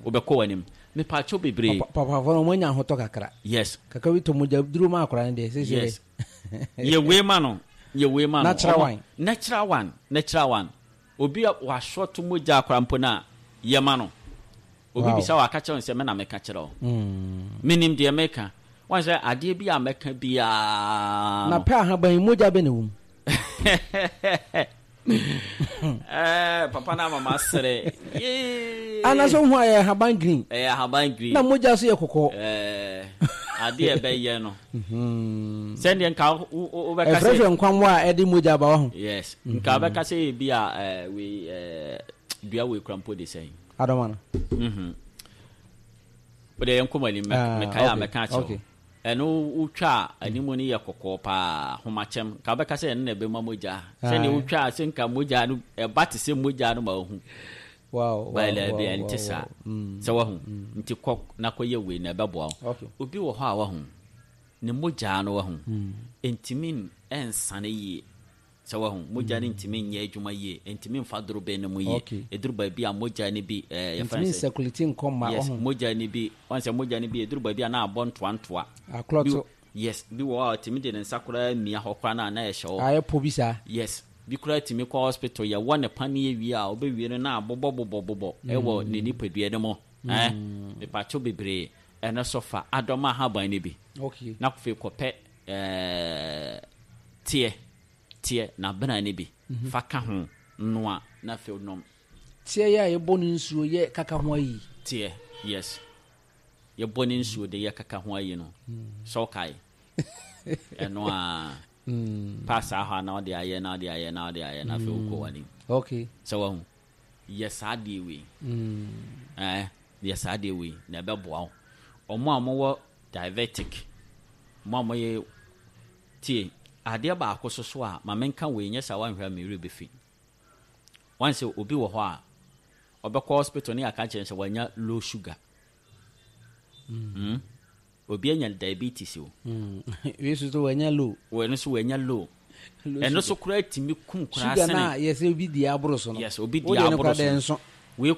wobɛkɔ w'anim. Mepaakyɛw bebree. Papafoɔ no ɔmo anya ahotɔ kakra. Yes. Kakra bi tɔ mogya duro ma akora no deɛ sɛ Yes, yɛ wei ma no, yɛ wei ma no. Natural Ɔmo- one. Natural one, natural one. Obi a wasɔto mogya akora mpo no a, yɛ ma no. Obi Wow. bisa wɔ aka kyerɛ wo sɛ me na meka kyerɛ wo. Menim deɛ meka. Wɔn sɛ adeɛ bi a mɛka biara Na no pɛ ahaban yi, mogya bɛ na wom? Ɛɛ, papa no ama masere. Yee. Anaasɛ wohu a, yɛ ahaban green. Ɛyɛ ahaban green. Na mogya so yɛ kɔkɔɔ. Ɛɛ, adeɛ a ɛbɛyɛ no sɛdeɛ nka wo- wo- wobɛka sɛ ɛfrɛfrɛ nkwammoa a ɛde mogya ba wɔ ho. Yes, nka wobɛka sɛ ebi a ɛɛ, wei, ɛɛ, dua wei kura mpo de sɛn? Adɔma no. Mhm. Wode yɛn nkɔmɔ anim. Ah, mɛkae a okay, mɛka akyerɛ wo. okay. Ɛno wotwa a, animu no yɛ kɔkɔɔ paa, homakyɛm. Nka wobɛka sɛ ɛno na ɛbɛma mogya, sɛdeɛ Aye. wotwa a, sɛ nka mogya no ɛba te sɛ mogya no ma wohu. wow wow bɛlɛ bi wow ɛnte wow saa. wow. Mm. Sɛ wahu nti kɔ na kɔyɛ wei na ɛbɛboa wo. Okay. Obi wɔ hɔ a wahu ne mogya no, wahu ntumi ɛnsane yie. Sɛ wahu mogya no ntumi nyɛ adwuma yie, ntumi mfa dorobɛn no mu yie. Okay. Ɛduru baabi a mogya no bi ɛɛ yɛfrɛ ntumi no sɛ nsɛkuliti nkɔ ma. Yes. Ɔho Mogya no bi wɔn sɛ mogya no bi ɛduru baabi a na abɔ ntoantoa. Aklɔto. Bi, yes, bi wɔ hɔ a ɔtumi de ne nsa koraa mia hɔ koraa na na ɛhyɛ hɔ. Ayɛ po bi saa. Yes, bi koraa tumi kɔ hospital, yɛwɔ ne paneɛ wie a, ɔbɛwie no na abobɔ bobɔ bobɔ ɛwɔ ne nipadua no mu. Ɛɛ, mepatwo bebree, ɛno so fa adɔm ahaban no bi okay na afei kɔpɛ ɛɛ teɛ teɛ na abena no bi fa ka ho noa na afei nom. Teɛ yɛ a yɛbɔ no nsuo yɛ kaka ho ayi? Teɛ, yes, yɛbɔ ne nsuo de yɛ kaka ho ayi no sɛ ɔkae ɛno a pa saa hɔ a, na ɔde ayɛ na ɔde ayɛ na ɔde ayɛ na afei wokɔ w'anim. Okay. Sɛ wahu, yɛ saa adeɛ wei, ɛɛ yɛ saa adeɛ wei na ɛbɛboa wo. Ɔmo a mowɔ diabetic, mo a moyɛ tie adeɛ baako so so a, ma menka wei nyɛ saa, wanhwɛ a mewere bɛfi wan sɛ obi wɔ hɔ a ɔbɛkɔ hospital ne yɛaka kyerɛ no sɛ wanya low sugar. mm. obi anya diabetes o. Wei so so wanya low. Wɔno so wanya low. Low ɛno sugar. So koraa tumi kum koraa Sugar sene na yɛsɛ obi di aboro so no. Yes, obi di Wo deɛ no aboro koraa so. dɛ nso. Wei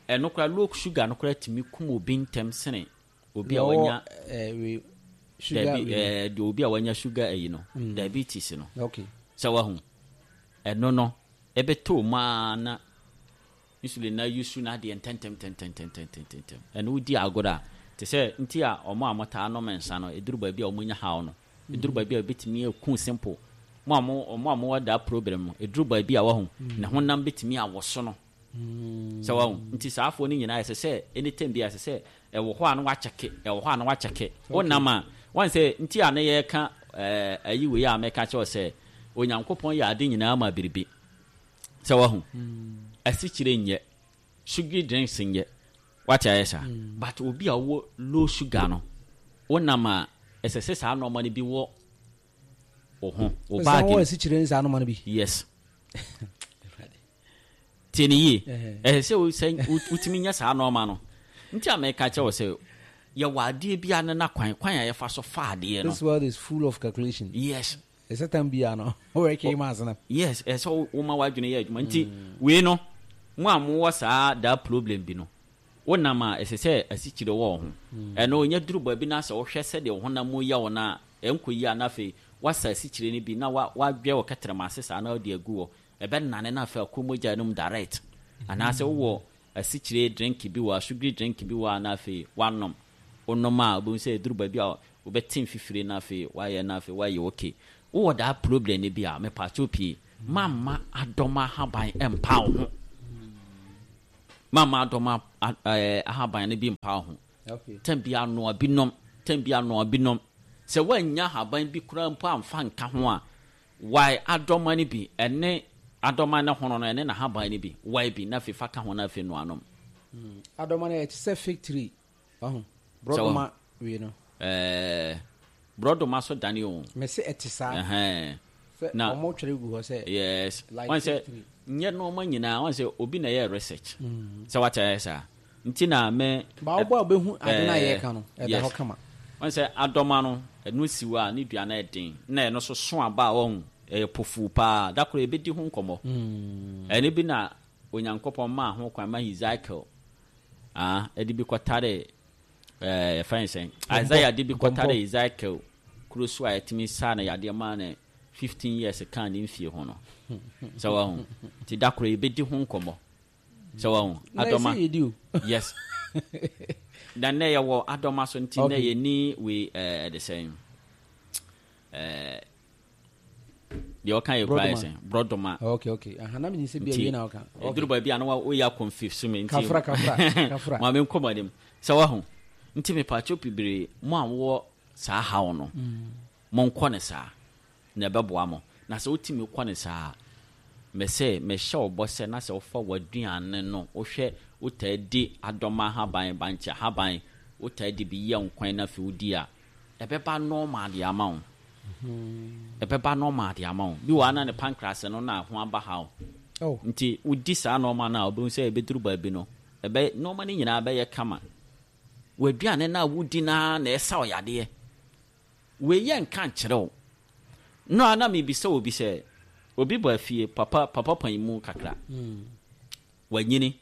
ɛno koraa, low sugar no koraa tumi kum obi ntɛm sene obi a Deɛ ɔwɔ, wanya eh, wei, sugar dabi wei. ɛɛ deɛ obi a wanya sugar ayi no, diabetes no. Okay. Sɛ wahu ɛno no, ɛbɛtɔ mu a na insulin na yusu na adeɛ ntɛntɛm tɛntɛntɛntɛntɛntɛm. Ɛno wodi agorɔ a, te sɛ nti a ɔmo a motaa nom nsa no, ɛduru baabi a ɔmo nya haw no, ɛduru baabi a ɛbɛtumi aku simple. Mo a mo ɔmo a mowɔ daa problem no, ɛduru baabi a wahu ne honam bɛtumi awɔ so no. Sɛ wahu nti saa afoɔ no nyinaa, ɛsɛ sɛ anytime bi a ɛsɛ sɛ ɛwɔ hɔ a na wakyɛke, ɛwɔ hɔ a na wakyɛke wonam a wɔn sɛ nti a ne yɛka ɛɛ ayi wei a mɛka kyerɛw sɛ Onyankopɔn yɛ ade nyinaa ma biribi. Sɛ wahu, asikyire nyɛ, sugary drinks nyɛ, wate ayɛ saa, but obi a ɔwɔ low sugar no, wonam a ɛsɛ sɛ saa nneɛma no bi wɔ wo ho, wo sɛ baage wɔwɔ mu. Asikyire ne saa noma no bi. Yes, tie ne yie. Ɛhɛ. Ɛsɛ sɛ wo- sɛ wo- wotumi nya saa nneɛma no nti a mɛka kyerɛ wo sɛ yɛwɔ adeɛ bi a ne na kwan kwan a yɛfa so fa adeɛ no. This world is full of calculation. Yes. Ɛsɛ tam bia no wɔrɛkɛ ma asena. Yes, ɛsɛ sɛ wo- woma w'adwene yɛ adwuma. Nti wei no, mo a mowɔ saa daa problem bi no, wonam a ɛsɛ sɛ asikyire wɔ wo ho. Ɛno ɔnya duru baabi no sɛ wohwɛ sɛdeɛ wo honam mu yɛ wo no a, ɛnkɔ yie a, na afei woasa asikyire no bi na wa- woadwɛ wo kɛtrɛma ase saa na wode agu hɔ, ɛbɛnane na afei akɔ mogya no mu direct. Anaasɛ wowɔ asikyire drink bi wɔ a, sugary drink bi wɔ a, na afei woanom. Wonom a, wobɛhu sɛ ɛduru baabi a wobɛte mfifire na afei woayɛ na afei woayɛ okay. Wowɔ daa problem no bi a, mepaakyɛw pii, mamma adɔma ahaban mpa wo ho. Mamma adɔma ahaban no bi mpa wo ho. Okay. Tam bi anoa bi nom, tam bi anoa bi nom. Sɛ woanya ahaban bi koraa mpo amfa nka ho a, wae adɔma no bi, ɛne adɔma no hono no, ɛne n'ahaban no bi, wae bi, na afei fa ka ho na afei noa nom. Mm. Adɔma no ɛte sɛ fig tree. Ɔho. Borɔdɔma wei no. Ɛɛ, borɔdɔma so dane o. Mese ɛte saa. Ɛhɛn. Sɛ Na- ɔmo twere gu hɔ sɛ Yes. like Wɔn sɛ fig tree. nyɛ nneɛma nyinaa, wɔn sɛ obi na ɛyɛ research. Sɛ wate ayɛ saa. Nti na me Ba wobɔ a wobɛhu ade no a Eh, yɛreka no, ɛda yes. hɔ kama. Wɔn sɛ adɔma no, ɛno si hɔ a ne dua no ɛden. Na ɛno so so aba a wɔn ɛyɛ pofuu paa. Da koro ebedi ho nkɔmɔ. Ɛno bi na Onyankopɔn maa ho kwan ma Ezekiel ah ɛde bi kɔtare ɛɛ yɛfrɛ no sɛn, Isaiah de bi kɔtare Ezekiel kuro so a yɛtumi saa no yadeɛ maa no fifteen years kaa ne mfie ho no. Sɛ wɔn nti da koro yɛbɛdi ho nkɔmɔ. Sɛ wɔn Na adɔma ɛsɛ yɛdi o. Yes, na nnɛ yɛwɔ adɔma so nti nnɛ Okay. yɛni wei ɛɛ ɛde sɛn, ɛɛ deɛ ɔka yɛ kura yɛ Borɔdɔma. sɛn, borɔdɔma. Okay, okay. Aha, na menim sɛ bia Nti wie na woka. Okay. ɛduru baabi a na wa- woyɛ akɔmfif me nti Kafra, kafra, kafra. Ma menkɔ m'anim. Sɛ wahu nti mepaakyɛw bebree, mo a wowɔ saa haw no, monkɔ ne saa na ɛbɛboa mo. Na sɛ wotumi kɔ ne saa a, mɛsɛ mehyɛ wo bɔ sɛ na sɛ wofa w'aduane no, wohwɛ wotaa di adɔma ahaban, bankye ahaban, wotaa di bi yɛ nkwan na afei wodi a, ɛbɛba normal de ama wo. Ɛbɛba normal de ama wo. Bi wɔ ha na ne pancreas no na ho aba ha wo. Oh. Nti wodi saa nɔɔma no a, wobɛhu sɛ ɛbɛduru baabi no, ɛbɛ nɔɔma no nyinaa bɛyɛ kama. W'aduane no a wodi naa na ɛsa wo yadeɛ. Wei yɛ nka nkyerɛ wo no a, na mebisa obi sɛ obi bɔ afie papa papa pan mu kakra, wanyini,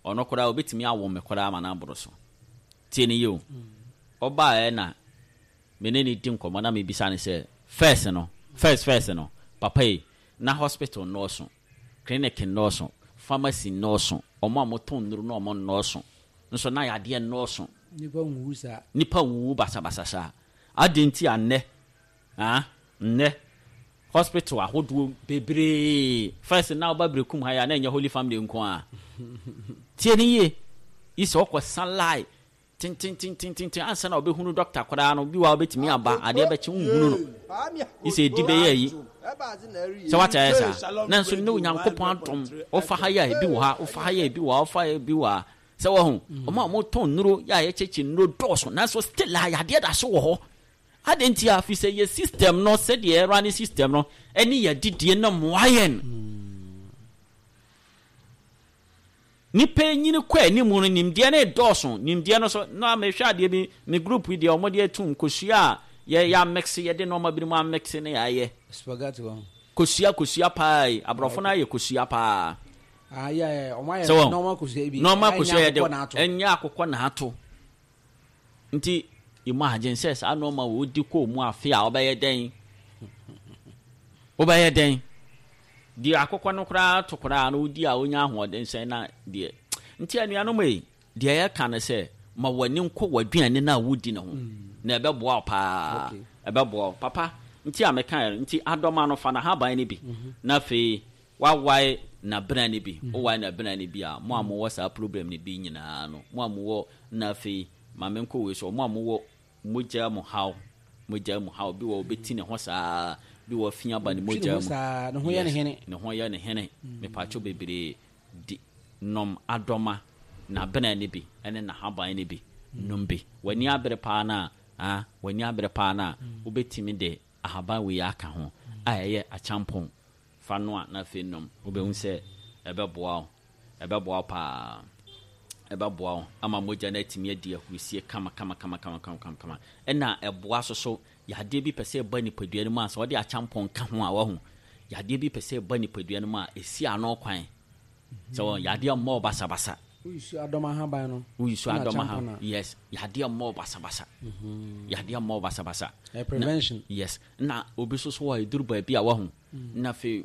ɔno koraa obɛtumi awo me koraa ma no aboro so. Tie ne yie o. Ɔbaeɛ na me ne ne di nkɔmmɔ na mebisa ne sɛ first no first first no, papa yi, na hospital nnɔɔso, clinic nnɔɔso, pharmacy nnɔɔso, ɔmo a motɔn nnuro na ɔmo nnɔɔso nso, na yadeɛ nnɔɔso. Nipa nwuwu saa. Nipa wuwu basabasa saa. Adi nti a nnɛ, ah, nnɛ hospital ahodoɔ bebree. First na ɔba Berekum ha yi a, na ɛnyɛ Holy Family nko a. Tie ne yie yi, sɛ ɔkɔ san line tententententen ansa na ɔbɛhunu doctor koraa no, bi wa wobɛtumi aba, adeɛ bɛkye nhunu no yi sɛ ɛdi bɛyɛ yi sɛ wate ayɛ saa. Nanso ne Onyankopɔn adom, wofa ha yɛ a, ebi wɔ ha, wofa ha yɛ a, ebi wɔ ha, wofa ha yɛ, ebi wɔ ha. Sɛ wɔho ɔmo a motɔn nnuro yɛ a, yɛkyɛkyɛ nnuro dɔɔso, nanso still a yadeɛ da so wɔ hɔ. Ade nti a fi sɛ yɛ system no, sɛdeɛ ɛra ne system no ɛne yɛ didie no mmoa yɛn. Nipa nyini kɔ anim no, nimdeɛ no dɔɔso. Nimdeɛ no so na mehwɛ adeɛ bi, me group yi deɛ, ɔmo de atum kosua a yɛ yɛ amix, yɛde nneɛma bi mu amix ne yɛayɛ Spaghetti wɔ ho. Kosua, kosua paa yi, aborɔfo no ayɛ kosua paa. Ah, yeah, yeah. Ɔmo ayɛ Sɛ wɔn normal kosua bi. Normal Ɛnyɛ kosua yɛde akokɔ na ato. Ɛnyɛ akokɔ na ato. Nti imagine sɛ saa nneɛma wo di kɔɔ mu afe a, wobɛyɛ dɛn? Wobɛyɛ dɛn? Deɛ akokɔ no koraa to koraa no wodi a, wonya ahoɔden sɛn? Na deɛ nti anuanom yi, deɛ yɛka no sɛ ma w'ani nkɔ w'aduane no a wodi ne ho na ɛbɛboa wo paa. Okay. Ɛbɛboa wo papa. Nti a meka yɛ no nti, adɔma no, fa n'ahaban no bi na afei wawae n'abena no bi. Wowae n'abena no bi a, mo a mowɔ saa problem no bi nyinaa no, mo a mowɔ, na afei ma menkɔ wei so, mo a mowɔ mogya mu haw, mogya mu haw bi wɔ, wobɛti ne ho saa bi wɔ fi aba ne Twi ne mogya ho mu. saa, ne ho yɛ ne Yes, hene. Ne ho yɛ ne hene. Mepatwo bebree, di nom adɔma n'abena no bi ɛne n'ahaban no bi, nom bi. W'ani abere paa no a, ah, w'ani abere paa no a, wobɛtumi de ahaban wei aka ho a ɛyɛ akyampɔn fa no a, na afei nom. Wobɛhu sɛ ɛbɛboa wo, ɛbɛboa wo paa, ɛbɛboa wo ama mogya no atumi adi ahurusie kama kama kama kama kama kama kama. Ɛna ɛboa so so yadeɛ bi pɛ sɛ ɛba nipadua no mu a, sɛ wɔde akyampɔn ka ho a, wahu yadeɛ bi pɛ sɛ ɛba nipadua no mu a, ɛsi ano kwan sɛ wɔn yadeɛ mmɔ basabasa. Woyi so adɔma ahaban no. Woyi so ɛna adɔma ha akyampɔn a. Yes, yadeɛ mmɔ basabasa, yadeɛ mmɔ basabasa. Ɛyɛ prevention. Yes, na obi nso so wɔ eduru baabi a, wahu na afei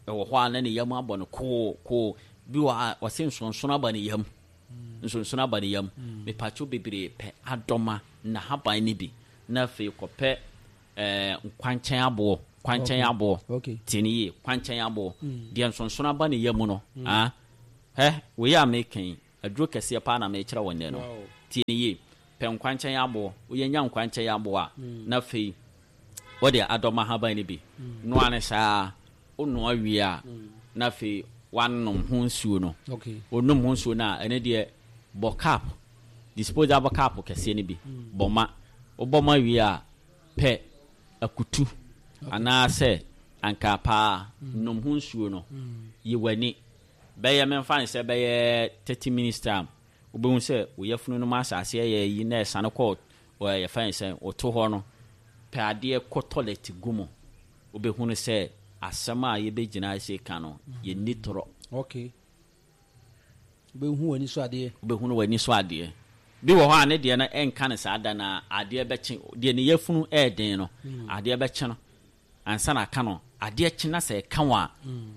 ɛwɔ hɔ a, na ne yam abɔ no koo koo bi wɔ a, ɔse nsonsono aba ne yam, nsonsono aba ne yam. Mepatwo bebree, pɛ adɔma n'ahaban no bi na afei kɔpɛ ɛɛ nkwankyɛn aboɔ. Kwankyɛn aboɔ. Okay. Tie ne yie, kwankyɛn aboɔ deɛ nsonsono aba ne yam no. Ah, hɛ, wei a meka yi, aduro kɛseɛ paa na mekyerɛ wɔ nnɛ no. Wow. Tie ne yie, pɛ nkwankyɛn aboɔ. Woyɛ nya nkwankyɛn aboɔ a, na afei wode adɔm ahaban no bi noa ne saa. Wonoa wie a, na afei wanom ho nsuo no. Okay. Onum ho nsuo no a, ɛno deɛ bɔ cup, disposable cup kɛseɛ no bi bɔ ma. Wobɔ ma wie a, pɛ akutu anaasɛ ankaa paa, nom ho nsuo no. Yi w'ani bɛyɛ, memfa ne sɛ bɛyɛ thirty minutes time, wobɛhu sɛ wo yafunu no mu asase ɛyɛ yi na ɛsane kɔ ɔ- yɛfa ne sɛ woto hɔ no. Pɛ adeɛ kɔ toilet gu mu, wobɛhunu sɛ asɛm a yɛbɛgyina ase ka no, yɛnni torɔ. Okay. Wobɛhu w'ani so adeɛ. Wobɛhunu w'ani so adeɛ. Bi wɔ hɔ a, ne deɛ no ɛnka no saa da na adeɛ bɛkye. Deɛ ne yafunu ɛɛden no, adeɛ bɛkye no ansa na aka no. Adeɛ kye na sɛ ɛka wo a,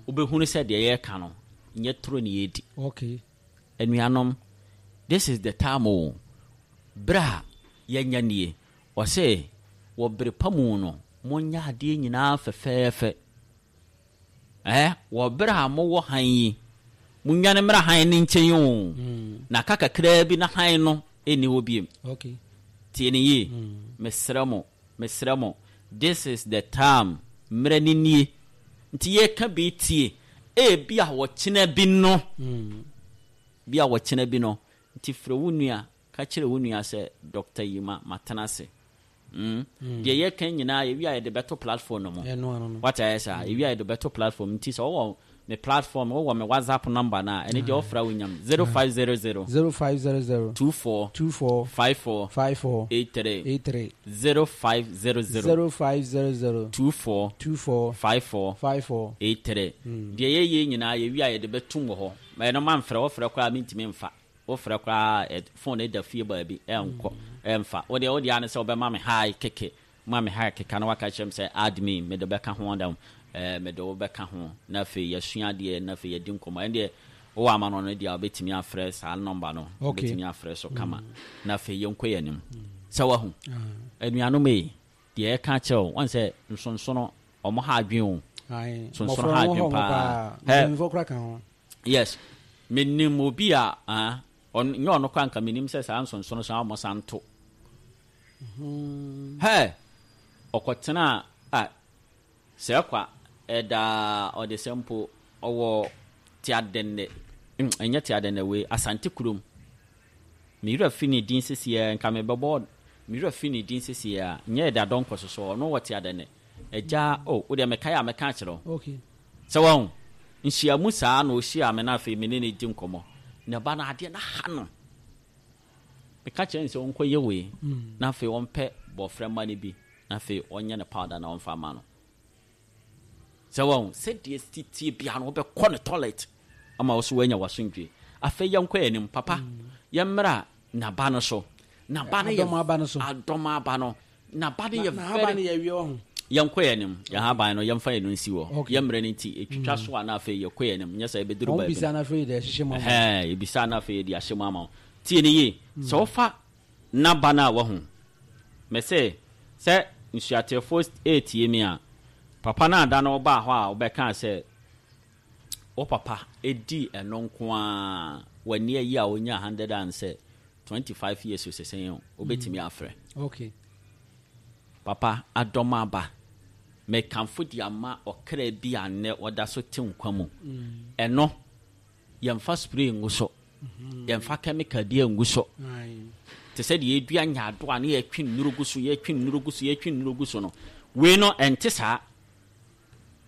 wobɛhunu sɛ deɛ yɛreka no nyɛ toro ne yɛdi. Okay. Anuanom, this is the time o, berɛ a yɛnya nie. Ɔsɛ wɔ bere pa mu no, monyɛ adeɛ nyinaa fɛfɛɛfɛ. Ɛɛ, wɔ berɛ a mowɔ han yi, monnwane mmra han no nkyɛn o, na ka kakraa bi na han no ɛnni hɔ biem. Okay. Tie ne yie, mesrɛ mo, mesrɛ mo, this is the time. Mmerɛ ne nie nti yɛka bi. Tie, ebi a wɔkyena bi no, bi a wɔkyena bi no nti, frɛ wo nua, ka kyerɛ wo nua sɛ Doctor Yima matena ase. mm. Deɛ yɛka nyinaa, yɛwi a, yɛde bɛto platform no mu. Ɛno ano no. Wate ayɛ saa, yɛwi a, yɛde bɛto platform. Nti sɛ wɔwɔ me platform, wɔwɔ me WhatsApp number no a, ɛne deɛ wɔfrɛ wo nyam zero five zero zero zero five zero zero two four two four five four five four eight three eight three. zero five zero zero zero five zero zero two four two four five four five four eight three. Deɛ yɛyɛ nyinaa, yɛwi a, yɛde bɛtum wɔ hɔ. Ma ɛno mamfrɛ. Wɔfrɛ koraa mentumi mfa. Wofrɛ koraa, ɛ- phone ɛda fie baabi, ɛnkɔ, ɛmfa. Wodeɛ wodeɛ ane sɛ wobɛma me hi keke, ma me hi keka na waka kyerɛ m sɛ add me, mede bɛka ho dam. ɛɛ mede wo bɛka ho na afei yɛsua adeɛ na afei yɛdi nkɔmmɔ. Ɛn deɛ wowɔ ama no no deɛ, wobɛtumi afrɛ saa number no. Okay. Wobɛtumi afrɛ so kama na afei yɛnkɔ yɛn anim sɛ wahu. Anuanom yi, deɛ ɛka kyerɛ wo wɔn sɛ nsonsono ɔmo ha adwen o. Aye. Sonsono Mmɔfra ha no adwen hɔ ɔmo paa. paa. Hɛ. Mpanyinfoɔ koraa ka ho. Yes, menim obi a, ah, ɔno nyɛ ɔno koraa, nka menim sɛ saa nsonsono so a ɔmo san to hɛ. Ɔkɔtena a sɛ kwa ɛdaa ɔde sɛ mpo ɔwɔ Teadɛnɛ, mm, ɛnyɛ Teadɛnɛ wei, Asante kurom. Mewura fi ne din sesiɛ, nka mebɛbɔ mewura fi ne din sesiɛ a, nyɛ ɛda dɔnkɔ so so. Ɔno wɔ Teadɛnɛ agya o. Wodeɛ mekae a, mɛka akyerɛ wo. Okay. Sɛ wɔn nhyiamu saa na ɔhyia me na afei me ne ne di nkɔmmɔ na ba no adeɛ na ha no, meka kyerɛ no sɛ ɔnkɔyɛ wei na afei ɔmpɛ bɔfrɛ ma no bi na afei ɔnyɛ ne powder na ɔmfa ma no. Sɛ wɔn sɛdeɛ titie bia no, wobɛkɔ ne toilet ama wo so woanya w'asomdwe. Afei yɛnkɔ anim, papa, yɛmmra naba no so. Naba no yɛ Adɔm aba no so. Adɔm aba no, naba no Na yɛ na haba no very yɛ wie ɔho. Yɛnkɔ yɛn anim. Yɛn haban no, yɛmfa yɛn no nsi hɔ. Okay. Yɛmmerɛ no nti ɛtwitwa so a, na afei yɛkɔ yɛn anim. Nyɛ sɛ yɛbɛduru Wɔn baabi bisa na afei de ɛhyehyɛ mu ama. Ɛhɛn, yɛbisa na afei yɛde ahyɛ mu ama wo. Tie ne yie, sɛ wofa naba no a, wahu mɛ sɛ sɛ nsuateɛfoɔ ɛretie mi a, papa no ada no wobaa hɔ a, wobɛkaa sɛ wo papa ɛdii ɛno nko a, w'ani ayi a, wonya hundred and sɛ twenty five years o, sɛsɛn o, wobɛtumi afrɛ. Okay. Papa, adɔm aba, mekamfo de ama ɔkra bi a nnɛ ɔda so te nkwa mu. Ɛno yɛmfa spray ngu so, yɛmfa chemical bi ngu so. Aye. Te sɛ deɛ yɛdua nyaado a ne yɛtwe nnuro gu so, yɛtwe nnuro gu so, yɛtwe nnuro gu so no, wei no ɛnte saa.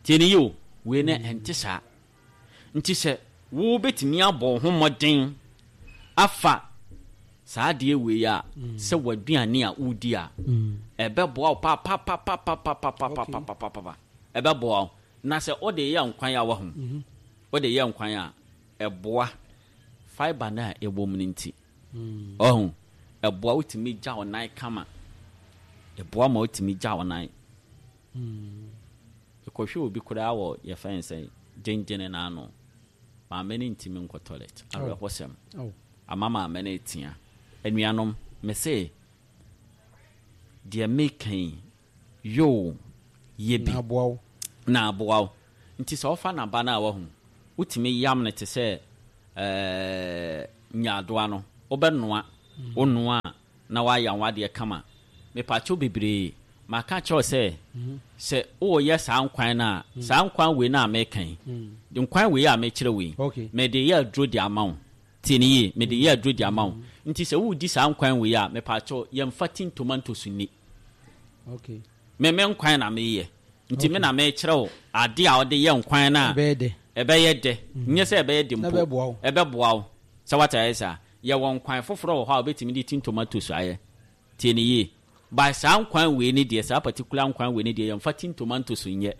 Tie ne yi o, wei no ɛnte saa. Nti sɛ wobɛtumi abɔ wo ho mmɔden afa saa adeɛ wei a, sɛ w'aduane a wodi a, ɛbɛboa wo papapapapapapapapapapa. Ɛbɛboa wo na sɛ wode yɛ nkwan a, wahu, wode yɛ nkwan a, ɛboa fibre no a ɛwɔ mu no. Nti ɔho ɛboa wotumi gya wo nan kama, ɛboa ma wotumi gya wo nan. Ɛkɔhwɛ obi koraa wɔ yɛfrɛ no sɛ gyengyene n'ano, maame no ntumi nkɔ toilet. Awerɛhɔsɛm. Oh. Ama maame no etia. Anuanom, mese deɛ meka yi yoo, Yɛ bi Na aboa wo. Na aboa wo. Nti sɛ wofa n'aba no a, wahu, wotumi yam no te sɛ ɛɛ nyaadoa no. Wobɛnoa, wonoa a, na woayam w'adeɛ kama. Mepaakyɛw bebree, maka kyerɛ wo sɛ sɛ woyɛ saa nkwan no a, saa nkwan wei no a meka yi, nkwan wei a mekyerɛ wei, Okay. mede yɛ aduro de ama wo. Tie ne yie, mede yɛ aduro de ama wo. Nti sɛ wodi saa nkwan wei a, mepaakyɛw, yɛmfa tin tomatoes ni. Okay. Me me nkwan na meyɛ, nti me na mekyerɛ wo ade a wɔde yɛ nkwan no a ɛbɛyɛ dɛ. Ɛbɛyɛ dɛ, nyɛ sɛ ɛbɛyɛ de Na mpo. Ɛbɛboa wo. Ɛbɛboa wo sɛ wate ayɛ saa. Yɛwɔ nkwan foforɔ wɔ hɔ a wobɛtumi de tin tomatoes ayɛ. Tie ne yie, by saa nkwan wei ne deɛ, saa particular nkwan wei ne deɛ, yɛmfa tin tomatoes nyɛ.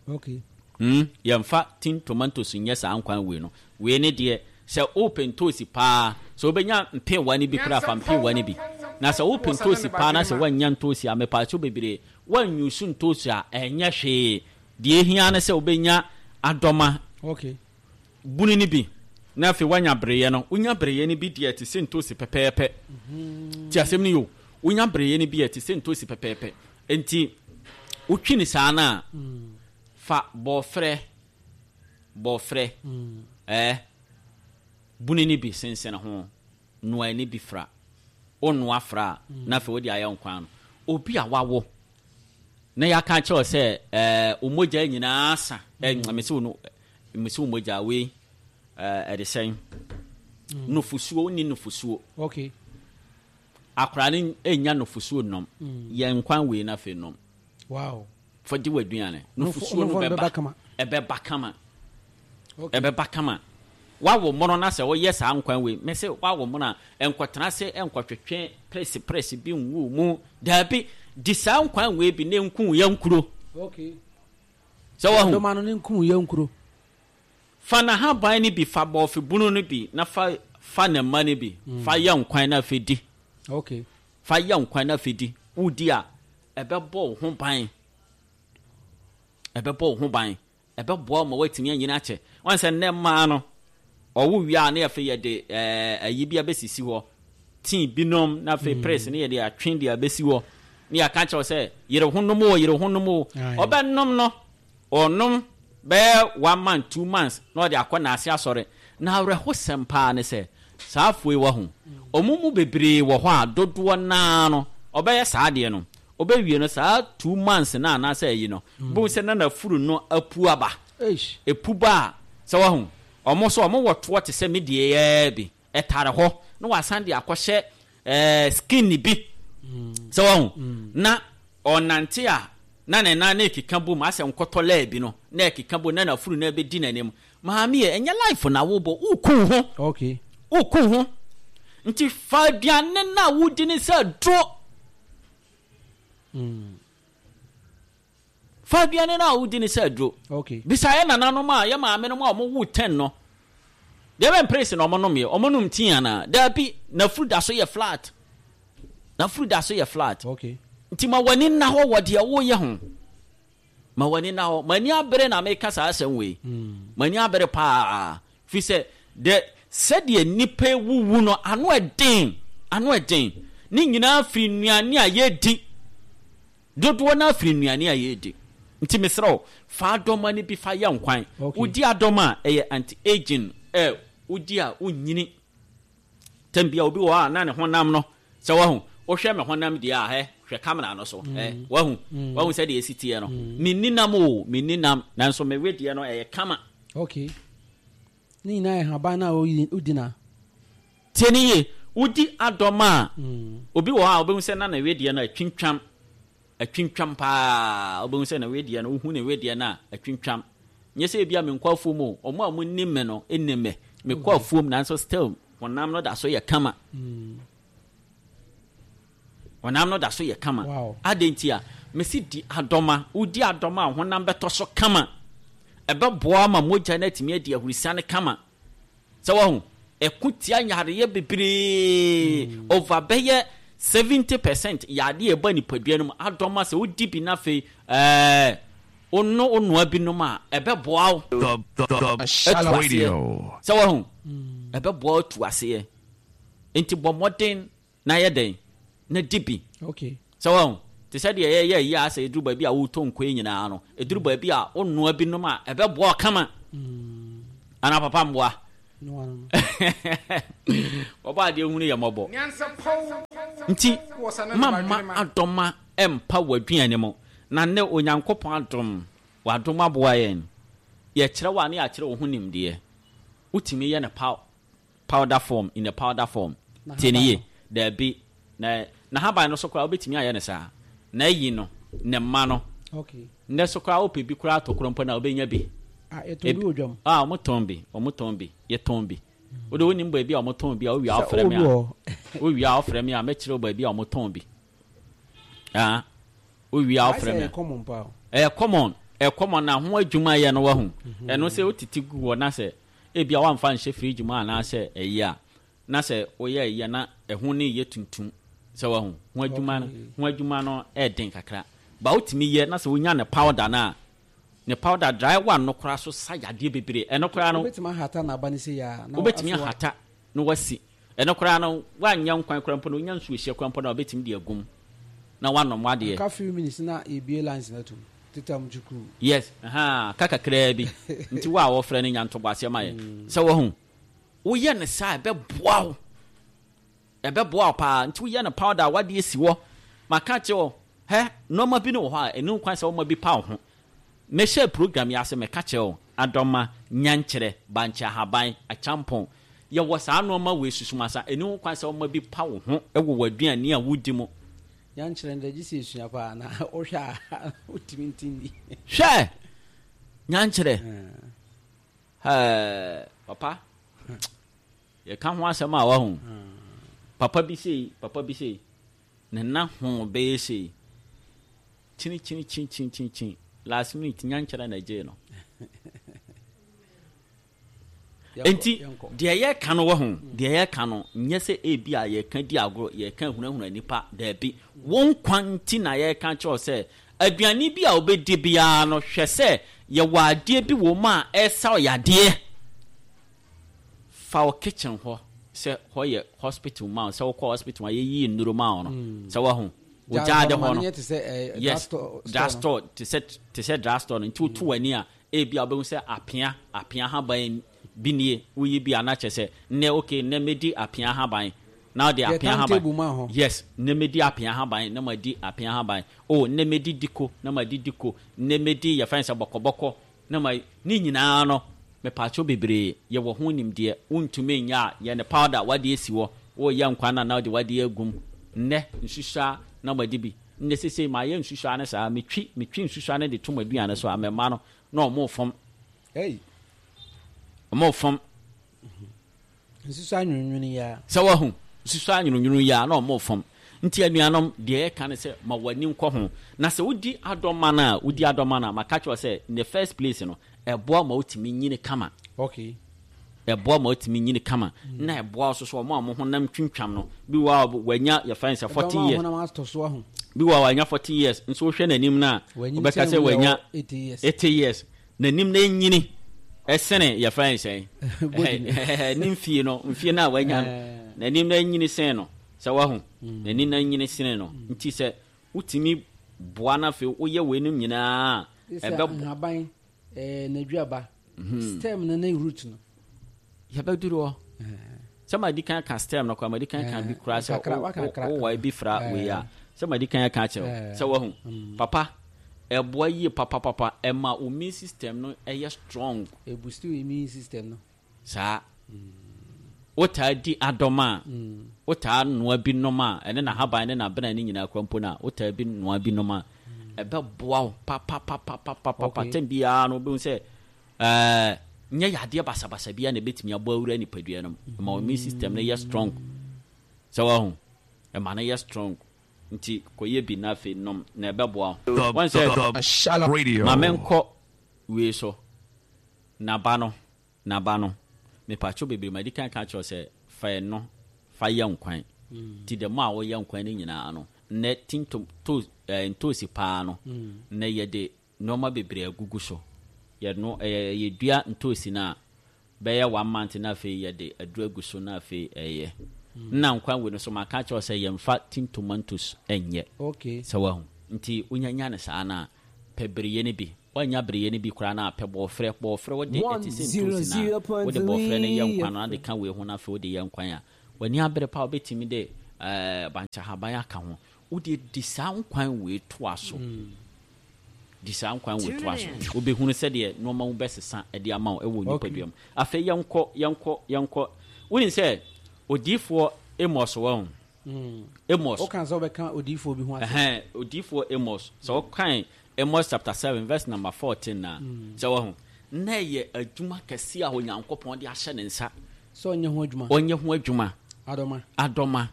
Okay. mm, yɛmfa tin tomatoes nyɛ saa nkwan wei no. Wei ne deɛ, sɛ wopɛ ntoosi paa, sɛ wobɛnya mpewa no bi koraa, fa mpewa no bi. Na sɛ wopɛ ntoosi paa na sɛ woannya ntoosi a, mepaakyɛw bebree, woanyusu ntoosi a, ɛnyɛ hwee. Deɛ ehia ne sɛ wobɛnya adɔma Okay. bunu no bi, na afei woanya bereyɛ no. Wonya bereyɛ no bi deɛ, ɛte sɛ ntoosi pɛpɛɛpɛ. Ti asɛm no yo, wonya bereyɛ no bi a, ɛte sɛ ntoosi pɛpɛɛpɛ. Nti wotwi ne saa no a, fa bɔɔfrɛ bɔɔfrɛ ɛɛ bunu no bi sensɛn ho, noa ne bi fra. Wonoa fra a, na afei wode ayɛ nkwan no. Obi a wawo na yɛaka kyerɛ wo sɛ ɛɛ wo mogya nyinaa sa, ɛ mese wo no, mese wo mogya wei, ɛɛ ɛde sɛn, nufusuo, wonni nufusuo. Okay. Akwaraa no nya nufusuo nom, yɛ nkwan wei na afei nom. Wow. Fa di w'aduane. Nufu- Nufusuo no nufu no bɛba. Bɛba kama. Ɛbɛba kama. Okay. Ɛbɛba kama. Wawo mono na sɛ woyɛ saa nkwan wei, mɛ sɛ wawo mono a, nkɔtena se nkɔtwetwe presi presi bi nwu mu. Daabi, di saa nkwan wei bi ne nku yɛ nkuro. Okay. Sɛ wahu. Dɔma no ne nkum yɛ nkuro. Fa n'ahaban no bi, fa bɔɔfe bunu no bi, na fa fa ne mma no bi fa yɛ nkwan na afei di. Okay. Fa yɛ nkwan na afei di. Wodi a, ɛbɛbɔ wo ho ban, ɛbɛbɔ wo ho ban, ɛbɛboa wo ma woatumi anyini akyɛ. Wɔn sɛ nnɛ mmaa no, ɔwo wie a, ne afei yɛde ɛɛ ayi bi abɛsisi hɔ, tii binom, na afei press ne yɛde atwe de abɛsi hɔ, ne yɛaka kyerɛw sɛ yere ho nom o, yere ho nom o. Aye. Ɔbɛnom no, ɔnom bɛyɛ one month, two months na ɔde akɔ n'ase asɔre. Na awerɛhosɛm paa ne sɛ saa afoe wɔ ho, ɔmo mu bebree wɔ hɔ a, dodoɔ naa no, ɔbɛyɛ saa adeɛ no, ɔbɛwie no saa two months na anaasɛ ayi no, bohu sɛ na n'afuru no apu aba. Eish. Epu ba a, sɛ wahu, ɔmo so ɔmo wɔ toɔ te sɛ me deɛ yɛɛ bi ɛtare hɔ, na wasan de akɔhyɛ ɛɛ skin bi. Sɛ wahu, na ɔnante a, na ne nan na ekeka bom asɛ nkɔtɔ lɛɛ bi no, na ekeka bom na n'afuru na ɛbɛdi n'anim. Maame yɛ, ɛnyɛ life na wobɔ, woku ho. Okay. Woku ho. Nti fa aduane na wodi ne sɛ duro. Mm. Fa aduane na wodi ne sɛ duro. Okay. Bisa yɛ nananom a, yɛ maame nom a ɔmo wo ten no, deɛ bɛ mpere na ɔmo nom yɛ, ɔmo nom tea ana? Daabi, n'afuru da so yɛ flat, n'afuru da so yɛ flat. Okay. Nti ma w'ani nna hɔ wɔ deɛ woyɛ ho. Ma w'ani nna hɔ. M'ani abere na meka saa asɛm wei. M'ani abere paa, fi sɛ de sɛdeɛ nnipa wuwu no, ano ɛden, ano ɛden. Ne nyinaa firi nnuane a yɛdi. Dodoɔ no afiri nnuane a yɛdi. Nti mesrɛ wo, fa adɔma no bi fa yɛ nkwan. Okay. Wodi adɔma a, ɛyɛ anti aging. Ɛ wodi a, wonyini tɛm bia. Obi wɔ hɔ a, na ne honam no, sɛ wahu, wohwɛ me honam deɛ a, hɛ, hwɛ camera no so, ɛ wahu, wahu sɛdeɛ ɛsi teɛ no. Menni nam o, menni nam, nanso mewe deɛ no, ɛyɛ kama. Okay. Ne nyinaa yɛ haban na oyi wodi na. Tie ne yie, wodi adɔma a, Mm. obi wɔ hɔ a, wobɛhu sɛ na ne wedeɛ no atwintwam, atwintwam paa. Wobɛhu sɛ ne wedeɛ no, wohu ne wedeɛ no a, atwintwam. Nyɛ sɛ ebia menkɔ afuom o. Ɔmo a monim me no nim me, mekɔ afuom, nanso still honam no da so yɛ kama. Mm. Honam no da so yɛ kama. Wow. Adɛn nti a mesi di adɔma? Wodi adɔma a, honam bɛtɔ so kama. Ɛbɛboa ma mogya no atumi adi ahurisiane kama. Sɛ wahu, ɛko tia yareɛ bebree, over bɛyɛ seventy percent yadeɛ ɛba nipadua no mu, adɔma, sɛ wodi bi na afei ɛɛ wono, wonoa binom a, ɛbɛboa wo The, the, the atu aseɛ. Radio. Sɛ wahu, ɛbɛboa wo atu aseɛ. Nti bɔ mmɔden na yɛ dɛn na di bi. Okay. Sɛ wahu. Te sɛ deɛ yɛyɛ yi a, sɛ ɛduru baabi a wotɔ nkwan nyinaa no, ɛduru baabi a wonoa binom a ɛbɛboa kama. Ana papa mboa? Wɔbɔ adeɛ hunu yɛ mmɔbɔ. Nti mamma adɔma ɛmpa w'aduane mu. Na nnɛ Onyankopɔn adom, wadom aboa yɛn. Yɛkyerɛ wo a ne yɛakyerɛ wo ho nimdeɛ. Wotumi yɛ no powder form, in a powder form. Tie ne yie. Daabi, na n'ahaban no so koraa wobɛtumi ayɛ no saa. Na ayi no, ne mma no. Okay. Nnɛ so koraa wopɛ bi koraa atɔ koro mpo na wobɛnya bi. Ah, yɛtɔn bi wɔ dwam. Ah, wɔn tɔn bi, wɔn tɔn bi, yɛtɔn bi. Wode wonim baabi a wɔn tɔn bi a, wowie a wofrɛ me a. Wowie a wofrɛ me a, mɛkyerɛ wo baabi a wɔn tɔn bi. Ah, wowie a wofrɛ me a. Ɛyɛ common paa. Ɛyɛ common, ɛyɛ common na ho adwuma yɛ no wahu. Ɛno sɛ wotete gu hɔ na sɛ ebi a wamfa nhyɛ fridge mu anaasɛ ɛyi a, na sɛ woyɛ ɛyi a na ɛho ne yɛ tuntum sɛ wahu. Ho adwuma no, ho adwuma no ɛɛden kakra. Ba wotumi yɛ na sɛ wonya ne powder no a, ne powder dry one no koraa so sa yadeɛ bebree. Ɛno koraa no, wobɛtumi ahata n'aba no sɛ yɛ a, na wobɛtumi asoa. Ahata na wasi. Ɛno koraa no, woanyɛ nkwan koraa mpo no, wonya nsuo hyɛ koraa mpo no a, wobɛtumi de agum na woanom wadeɛ. Aka few minutes na yɛbie lines no atom tetam twukuu. Yes, aha, ka kakraa bi. Nti wo a wɔfrɛ no nya ntoboaseɛ ma yɛ. Sɛ wahu, woyɛ no saa ɛbɛboa wo. Ɛbɛboa wo paa. Nti woyɛ no powder a wadeɛ si hɔ. Maka kyerɛ wo, hɛ, nneɛma bi ne wɔ hɔ a ɛno kwan sɛ woma bi pa wo ho. Mehyɛ program yi ase meka kyerɛ wo, adɔma, nyankyerɛ, bankye ahaban, akyampɔn. Yɛwɔ saa nneɛma wei susumasa, ɛno kwan sɛ woma bi pa wo ho ɛwɔ w'aduane a wodi mu. Nyankyerɛ no gye sɛ esua paa na wohwɛ a wotumi nti nni. Hwɛ! Nyankyerɛ. Hɛɛ, papa. Yɛka ho asɛm a wahu. Papa bi sei, papa bi sei. Ne na ho bɛyɛ sei. Kyini kyini kyini kyini kyini kyini. Last minute nyankyerɛ na ɛgyee no. Enti deɛ yɛka no wɔ ho, deɛ yɛka no nyɛ sɛ ebi a yɛka di agorɔ, yɛka hunahuna nipa, daabi. Wɔn kwan nti na yɛka kyerɛw sɛ aduane bi a wobɛdi biara no, hwɛ sɛ yɛwɔ adeɛ bi wɔ mu a ɛsa yadeɛ. Fa wo kitchen hɔ sɛ hɔ yɛ hospital ma wo, sɛ wokɔ hospital a yɛyi nnuro ma wo no, sɛ wahu wo gyaade hɔ no, yes, drugstore te sɛ te sɛ drugstore no. Nti wotu w'ani a, ebi a wobɛhu sɛ apea apea haban bi nie, woyi bi a na kyerɛ sɛ nnɛ, okay, nnɛ mɛdi apea haban na wode apea haban. Yes, nnɛ mɛdi apea haban na madi apea haban. Oh, nnɛ mɛdi diko na madi diko. Nnɛ mɛdi yɛfrɛ no sɛ bɔkɔbɔkɔ na ma ne nyinaa no. Mepaakyɛw bebree, yɛwɔ ho nimdeɛ. Wontumi nyɛ a, yɛ ne powder wade asi hɔ. Woyɛ nkwan na na wode wade agum. Nnɛ nsusua na madi bi. Nnɛ sesei mayɛ nsusua no saa, metwi metwi nsusua no de to m'aduane so a, mɛma no na ɔmo fam. Hey. Ɔmo fam. Nsusua nwunwunu yi a. Sɛ wahu nsusua nwunwunu yi a na ɔmo fam. Nti anuanom, deɛ yɛka ne sɛ ma w'ani nkɔ ho. Na sɛ wodi adɔma no a, wodi adɔma no a, maka kyerɛ sɛ in the first place no, ɛboa ma wotumi nyini kama. Okay. Ɛboa ma wotumi nyini kama. Na ɛboa wo so so ɔmo a ɔmo honam twintwam no. Bi wɔ a wanya yɛfrɛ no sɛ forty years. Honam atɔ so ahu. Bi wɔ a wanya forty years nso wohwɛ n'anim no a, wobɛka sɛ wanya eighty years. eighty years. N'anim no enyini ɛsene yɛfrɛ no sɛn, ne mfie no, mfie no a wanya no, n'anim no enyini sen no. Sɛ wahu, n'anim no enyini sene no. Nti sɛ wotumi boa no afei woyɛ weinom nyinaa a, ɛbɛ nhaban ɛɛ n'aduaba stem no ne root no. Yɛbɛduru hɔ sɛ ma di kan ka stem no koraa, ma di kan ka bi koraa sɛ wowɔ bi fra wei a, sɛ ma di kan ka kyerɛ sɛ wahu, papa, ɛboa yie papapapa. Ɛma wo immune system no ɛyɛ strong. Ɛboost wo immune system no. Saa wotaa di adɔm a, wotaa noa bi nom a, ɛne n'ahaban ne n'abena ne nyinaa kora mpo no a, wotaa bi noa bi nom a, ɛbɛboa wo papapapapapa. Tɛm biara no wobɛhu sɛ ɛɛ nyɛ yadeɛ basabasa biara na ɛbɛtumi abɔ awura nipadua no mu. Ɛma wo immune system no yɛ strong. Sɛ wahu, ɛma no yɛ strong. Nti kɔyɛ bi na afei nom na ɛbɛboa wo. Wɔn sɛ ma menkɔ wei so, naba no naba no mepatwo bebree, ma di kan ka kyerɛ sɛ fa ɛno fa yɛ nkwan. Nti dɛm a wɔyɛ nkwan no nyinaa no, nnɛ tin to ɛɛ ntoosi paa no, nnɛ yɛde nneɛma bebree agugu so. Yɛno ɛyɛ yɛdua ntoosi no a, bɛyɛ one month na afei yɛde aduru agu so na afei ɛyɛ nna nkwan wei no so. Maka kyerɛ sɛ yɛmfa tin tomatoes ɛnyɛ. Okay. Sɛ wahu. Nti wonyanya ne saa no a, pɛ bereyɛ no bi. Woanya bereyɛ no bi koraa no a, pɛ bɔɔfrɛ. Bɔɔfrɛ wode ɛte sɛ ntosi no a, wode bɔɔfrɛ no yɛ nkwan no, na de ka wei ho no, afei wode yɛ nkwan a, w'ani abere pa, wobɛtumi de ɛɛ bankyahaban aka ho. Wode di saa nkwan wei toa so. Di saa nkwan wei toa so. Wobɛhunu sɛdeɛ nneɛma mu bɛsesa de ama wo ɛwɔ nipadua mu. Afei yɛnkɔ, yɛnkɔ, yɛnkɔ. Wonim sɛ odiyifoɔ Amos wɔ ho. Amos. Woka sɛ wobɛka odiyifoɔ bi ho asɛm. Ɛhɛn, odiyifoɔ Amos. Sɛ wokan Amos chapter seven verse number fourteen na sɛ wɔ ho. Na ɛyɛ adwuma kɛseɛ a Onyankopɔn de ahyɛ ne nsa. Sɛ ɔnyɛ ho adwuma. Ɔnyɛ ho adwuma. Adɔma. Adɔma.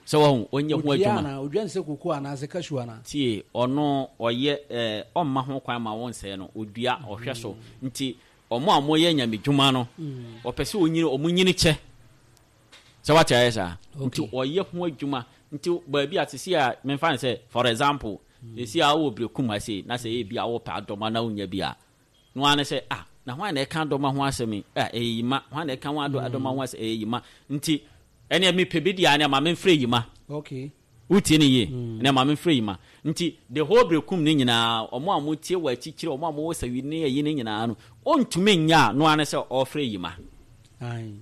Sɛ wɔ ho, ɔnyɛ ho adwuma. Odua anaa? Odua ne sɛ koko anaasɛ cashew anaa? Tie, ɔno ɔyɛ ɛɛ ɔmma ho kwan ma wɔnsɛe no, odua, ɔhwɛ so. Nti ɔmo a wɔyɛ nyamedwuma no, ɔpɛ sɛ onyini, ɔmo nyini kyɛ. Sɛ wate ayɛ saa. Nti ɔyɛ ho adwuma. Nti baabi a sisi a memfa ne sɛ, for example, sisi a wowɔ Berekum ha sei, na sɛ ebi a wopɛ adɔma na wonya bi a, no ara ne sɛ, ah, na hwan na ɛka adɔma ho asɛm yi? Ah, ɛyɛ Yima. Hwan na ɛka ho adɔma ho asɛm? Ɛyɛ Yima. Nti ɛneɛ mepɛ bi deɛ a, ɛneɛ ma memfrɛ Yima. Okay. Wotie ne yie? Ɛneɛ ma memfrɛ Yima. Nti the whole Berekum ne nyinaa, ɔmo a motie wɔ akyikyiri, ɔmo a mowɔ sawi ne ayi ne nyinaa no, ɔntumi nya a, no ara ne sɛ ɔfrɛ Yima. Aye.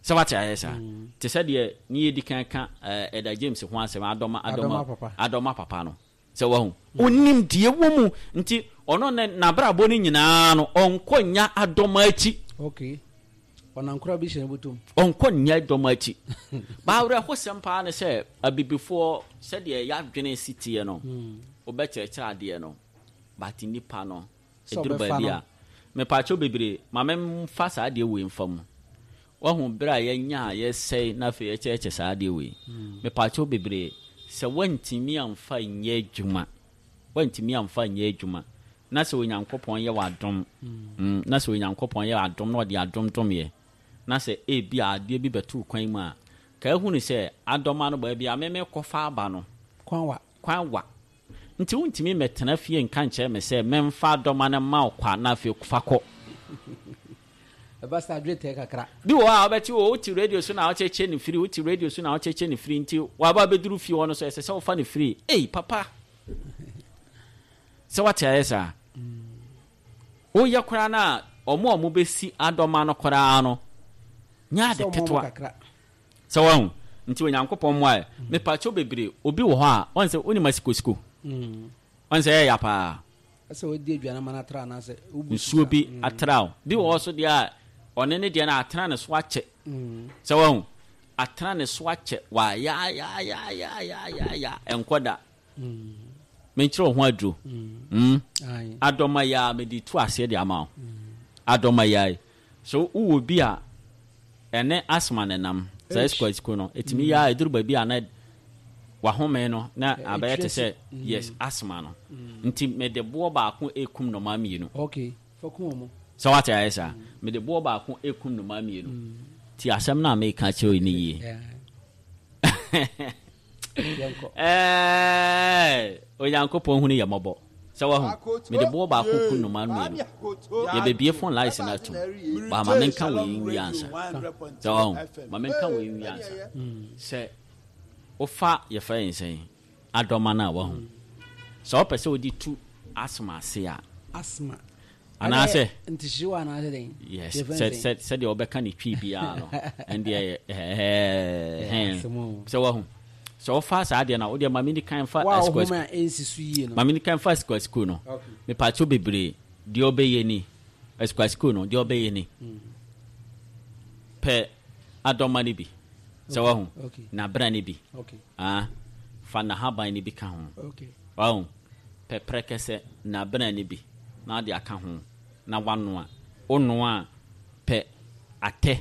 Sɛ wate ayɛ saa. Te sɛ deɛ ne yɛdi kan ka Ɛda James ho asɛm, adɔma, adɔma, papa. Adɔma papa no. Sɛ wahu. Onim deɛ wɔ mu. Nti ɔno ne n'abrabɔ no nyinaa no, ɔnkɔ nya adɔma akyi. Okay. Ɔnankora bi hyɛ ne bɔtɔm. Ɔnkɔ nya adɔma akyi. Baawerɛhosɛm paa ne sɛ abibifoɔ sɛdeɛ yɛadwene si teɛ no, wobɛkyerɛkyerɛ adeɛ no, but nipa no, ɛduru baabi a, mepaakyɛw bebree, ma memfa saa adeɛ wei mfa mu. Wahu berɛ a yɛnya a yɛsɛe na afei yɛkyerɛkyerɛ saa adeɛ wei. Mepaakyɛw bebree, sɛ woantumi amfa nyɛ adwuma, woantumi amfa nyɛ adwuma, na sɛ Onyankopɔn yɛ w'adom, na sɛ Onyankopɔn yɛ adom na ɔde adom dom yɛ, na sɛ ebi a adeɛ bi bɛto kwan mu a, ka ehunu sɛ adɔma no baabi a meme kɔfa aba no, Kwan wa. Kwan wa. Nti wontumi mmɛtena fie nka nkyerɛ me sɛ memfa adɔma no mma wo kwa na afei fa kɔ. Ɛba saa adwene tɛɛ kakra. Bi wɔ hɔ a wobɛte o, wote radio so na wokyɛkyɛ ne firi, wote radio so na wokyɛkyɛ ne firi, nti waba bɛduru fie hɔ no so ɛsɛ sɛ wofa ne firi. Ei, papa. Sɛ wate ayɛ saa. Woyɛ koraa no a, ɔmo a ɔmo bɛsi adɔma no koraa no, nyɛ ade ketewa. Sɛ wahu. Nti Onyankopɔn mmoa yɛ. Mepakyɛw bebree, obi wɔ hɔ a, ɔn sɛ wonim asikosiko. Ɔn sɛ ɛyɛ ya paa. Sɛ wodi aduane ma no atra anaasɛ wobu nsuo bi atra o. Bi wɔ hɔ so deɛ a, ɔne ne deɛ no atena ne so akyɛ. Sɛ wahu, atena ne so akyɛ, wayayayayayaaya, ɛnkɔ da. Menkyerɛ wo ho aduro. Adɔma yi a mede tu aseɛ de ama wo. Adɔma yi a, so wowɔ bi a ɛne asthma ne nam, sɛ esiko no, ɛtumi yɛ a ɛduru baabi a na wahome no na abɛyɛ te sɛ yes, asthma no. Nti mede boɔ baako ekum nnomaa mmienu. Okay, fa kum wɔn. Sɛ wate ayɛ saa, mede boɔ baako ekum nnomaa mmienu. Ti asɛm no a meka kyerɛ wo ni yie. Ɛɛ, Onyankopɔn hunu yɛ mmɔbɔ. Sɛ wahu, mede boɔ baako kum nnomaa mmienu. Yɛbɛbie phone lines no atom. Ba ma menka wei nwie ansa. Sɛ wahu, ma menka wei nwie ansa. Sɛ wofa yɛfrɛ yɛn sɛn adɔma no a wahu. Sɛ wopɛ sɛ wode tu asthma ase a. Asthma. Anaasɛ. Ntihyew anaasɛ dɛn? Yes, sɛ sɛ sɛdeɛ wɔbɛka ne twi biara no, ɛndeɛ ɛɛ sɛ wahu. Sɛ wofa saa adeɛ no a, wodeɛ ma meni kan fa Wa ɔhome a ɛnsi so yie no. Ma meni kan fa asikuasikuo no. Mepaakyɛw bebree, deɛ ɔbɛyɛ ni. Asikuasikuo no, deɛ ɔbɛyɛ ni. Pɛ adɔma no bi. Sɛ wahu. Nabena no bi. Ah, fa nahaban no bi ka ho. Wahu. Pɛ prɛkɛsɛ nabena no bi na ade aka ho na wanoa. Wonoa pɛ atɛ.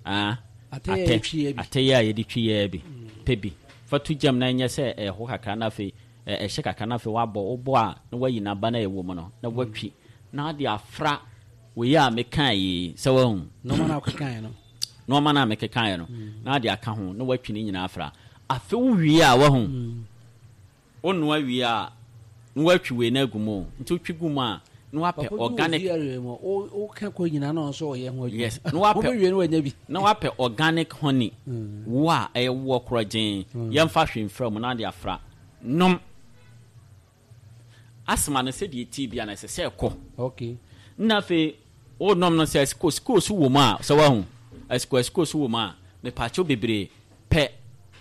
Ah, atɛ atɛ yɛ a yɛde twi yɛ bi. Pɛ bi. Fa to gyam na ɛnyɛ sɛ ɛho kakra na afei ɛhyɛ kakra na afei wabɔ. Wobɔ a na wayi n'aba na ɛwɔ mu no na watwi na ade afra wei a meka yi sɛ wahu. Nneɛma na akekaeɛ no. Nneɛma na mekekaeɛ no na ade aka ho na watwi ne nyinaa afra. Afei wowie a wahu. Wonoa wie a na watwi wei no agu mu. Nti wotwi gu mu a na wapɛ organic. Woka kɔ nyinaa na ɔnso ɔyɛ ho adwuma. Yes, na wapɛ wobɛwie no wanya bi. Na wapɛ organic honey. Wo a ɛyɛ woɔ korɔ gyeen. Yɛmfa hwee mfra mu na ade afra. Nom. Asthma no sɛdeɛ ɛti bia no, ɛsɛ sɛ ɛkɔ. Okay na afei wonom no sɛ asiko so wɔ mu a, sɛ woahu asiko asiko so wɔ mu a, mepaakyɛw bebree pɛ.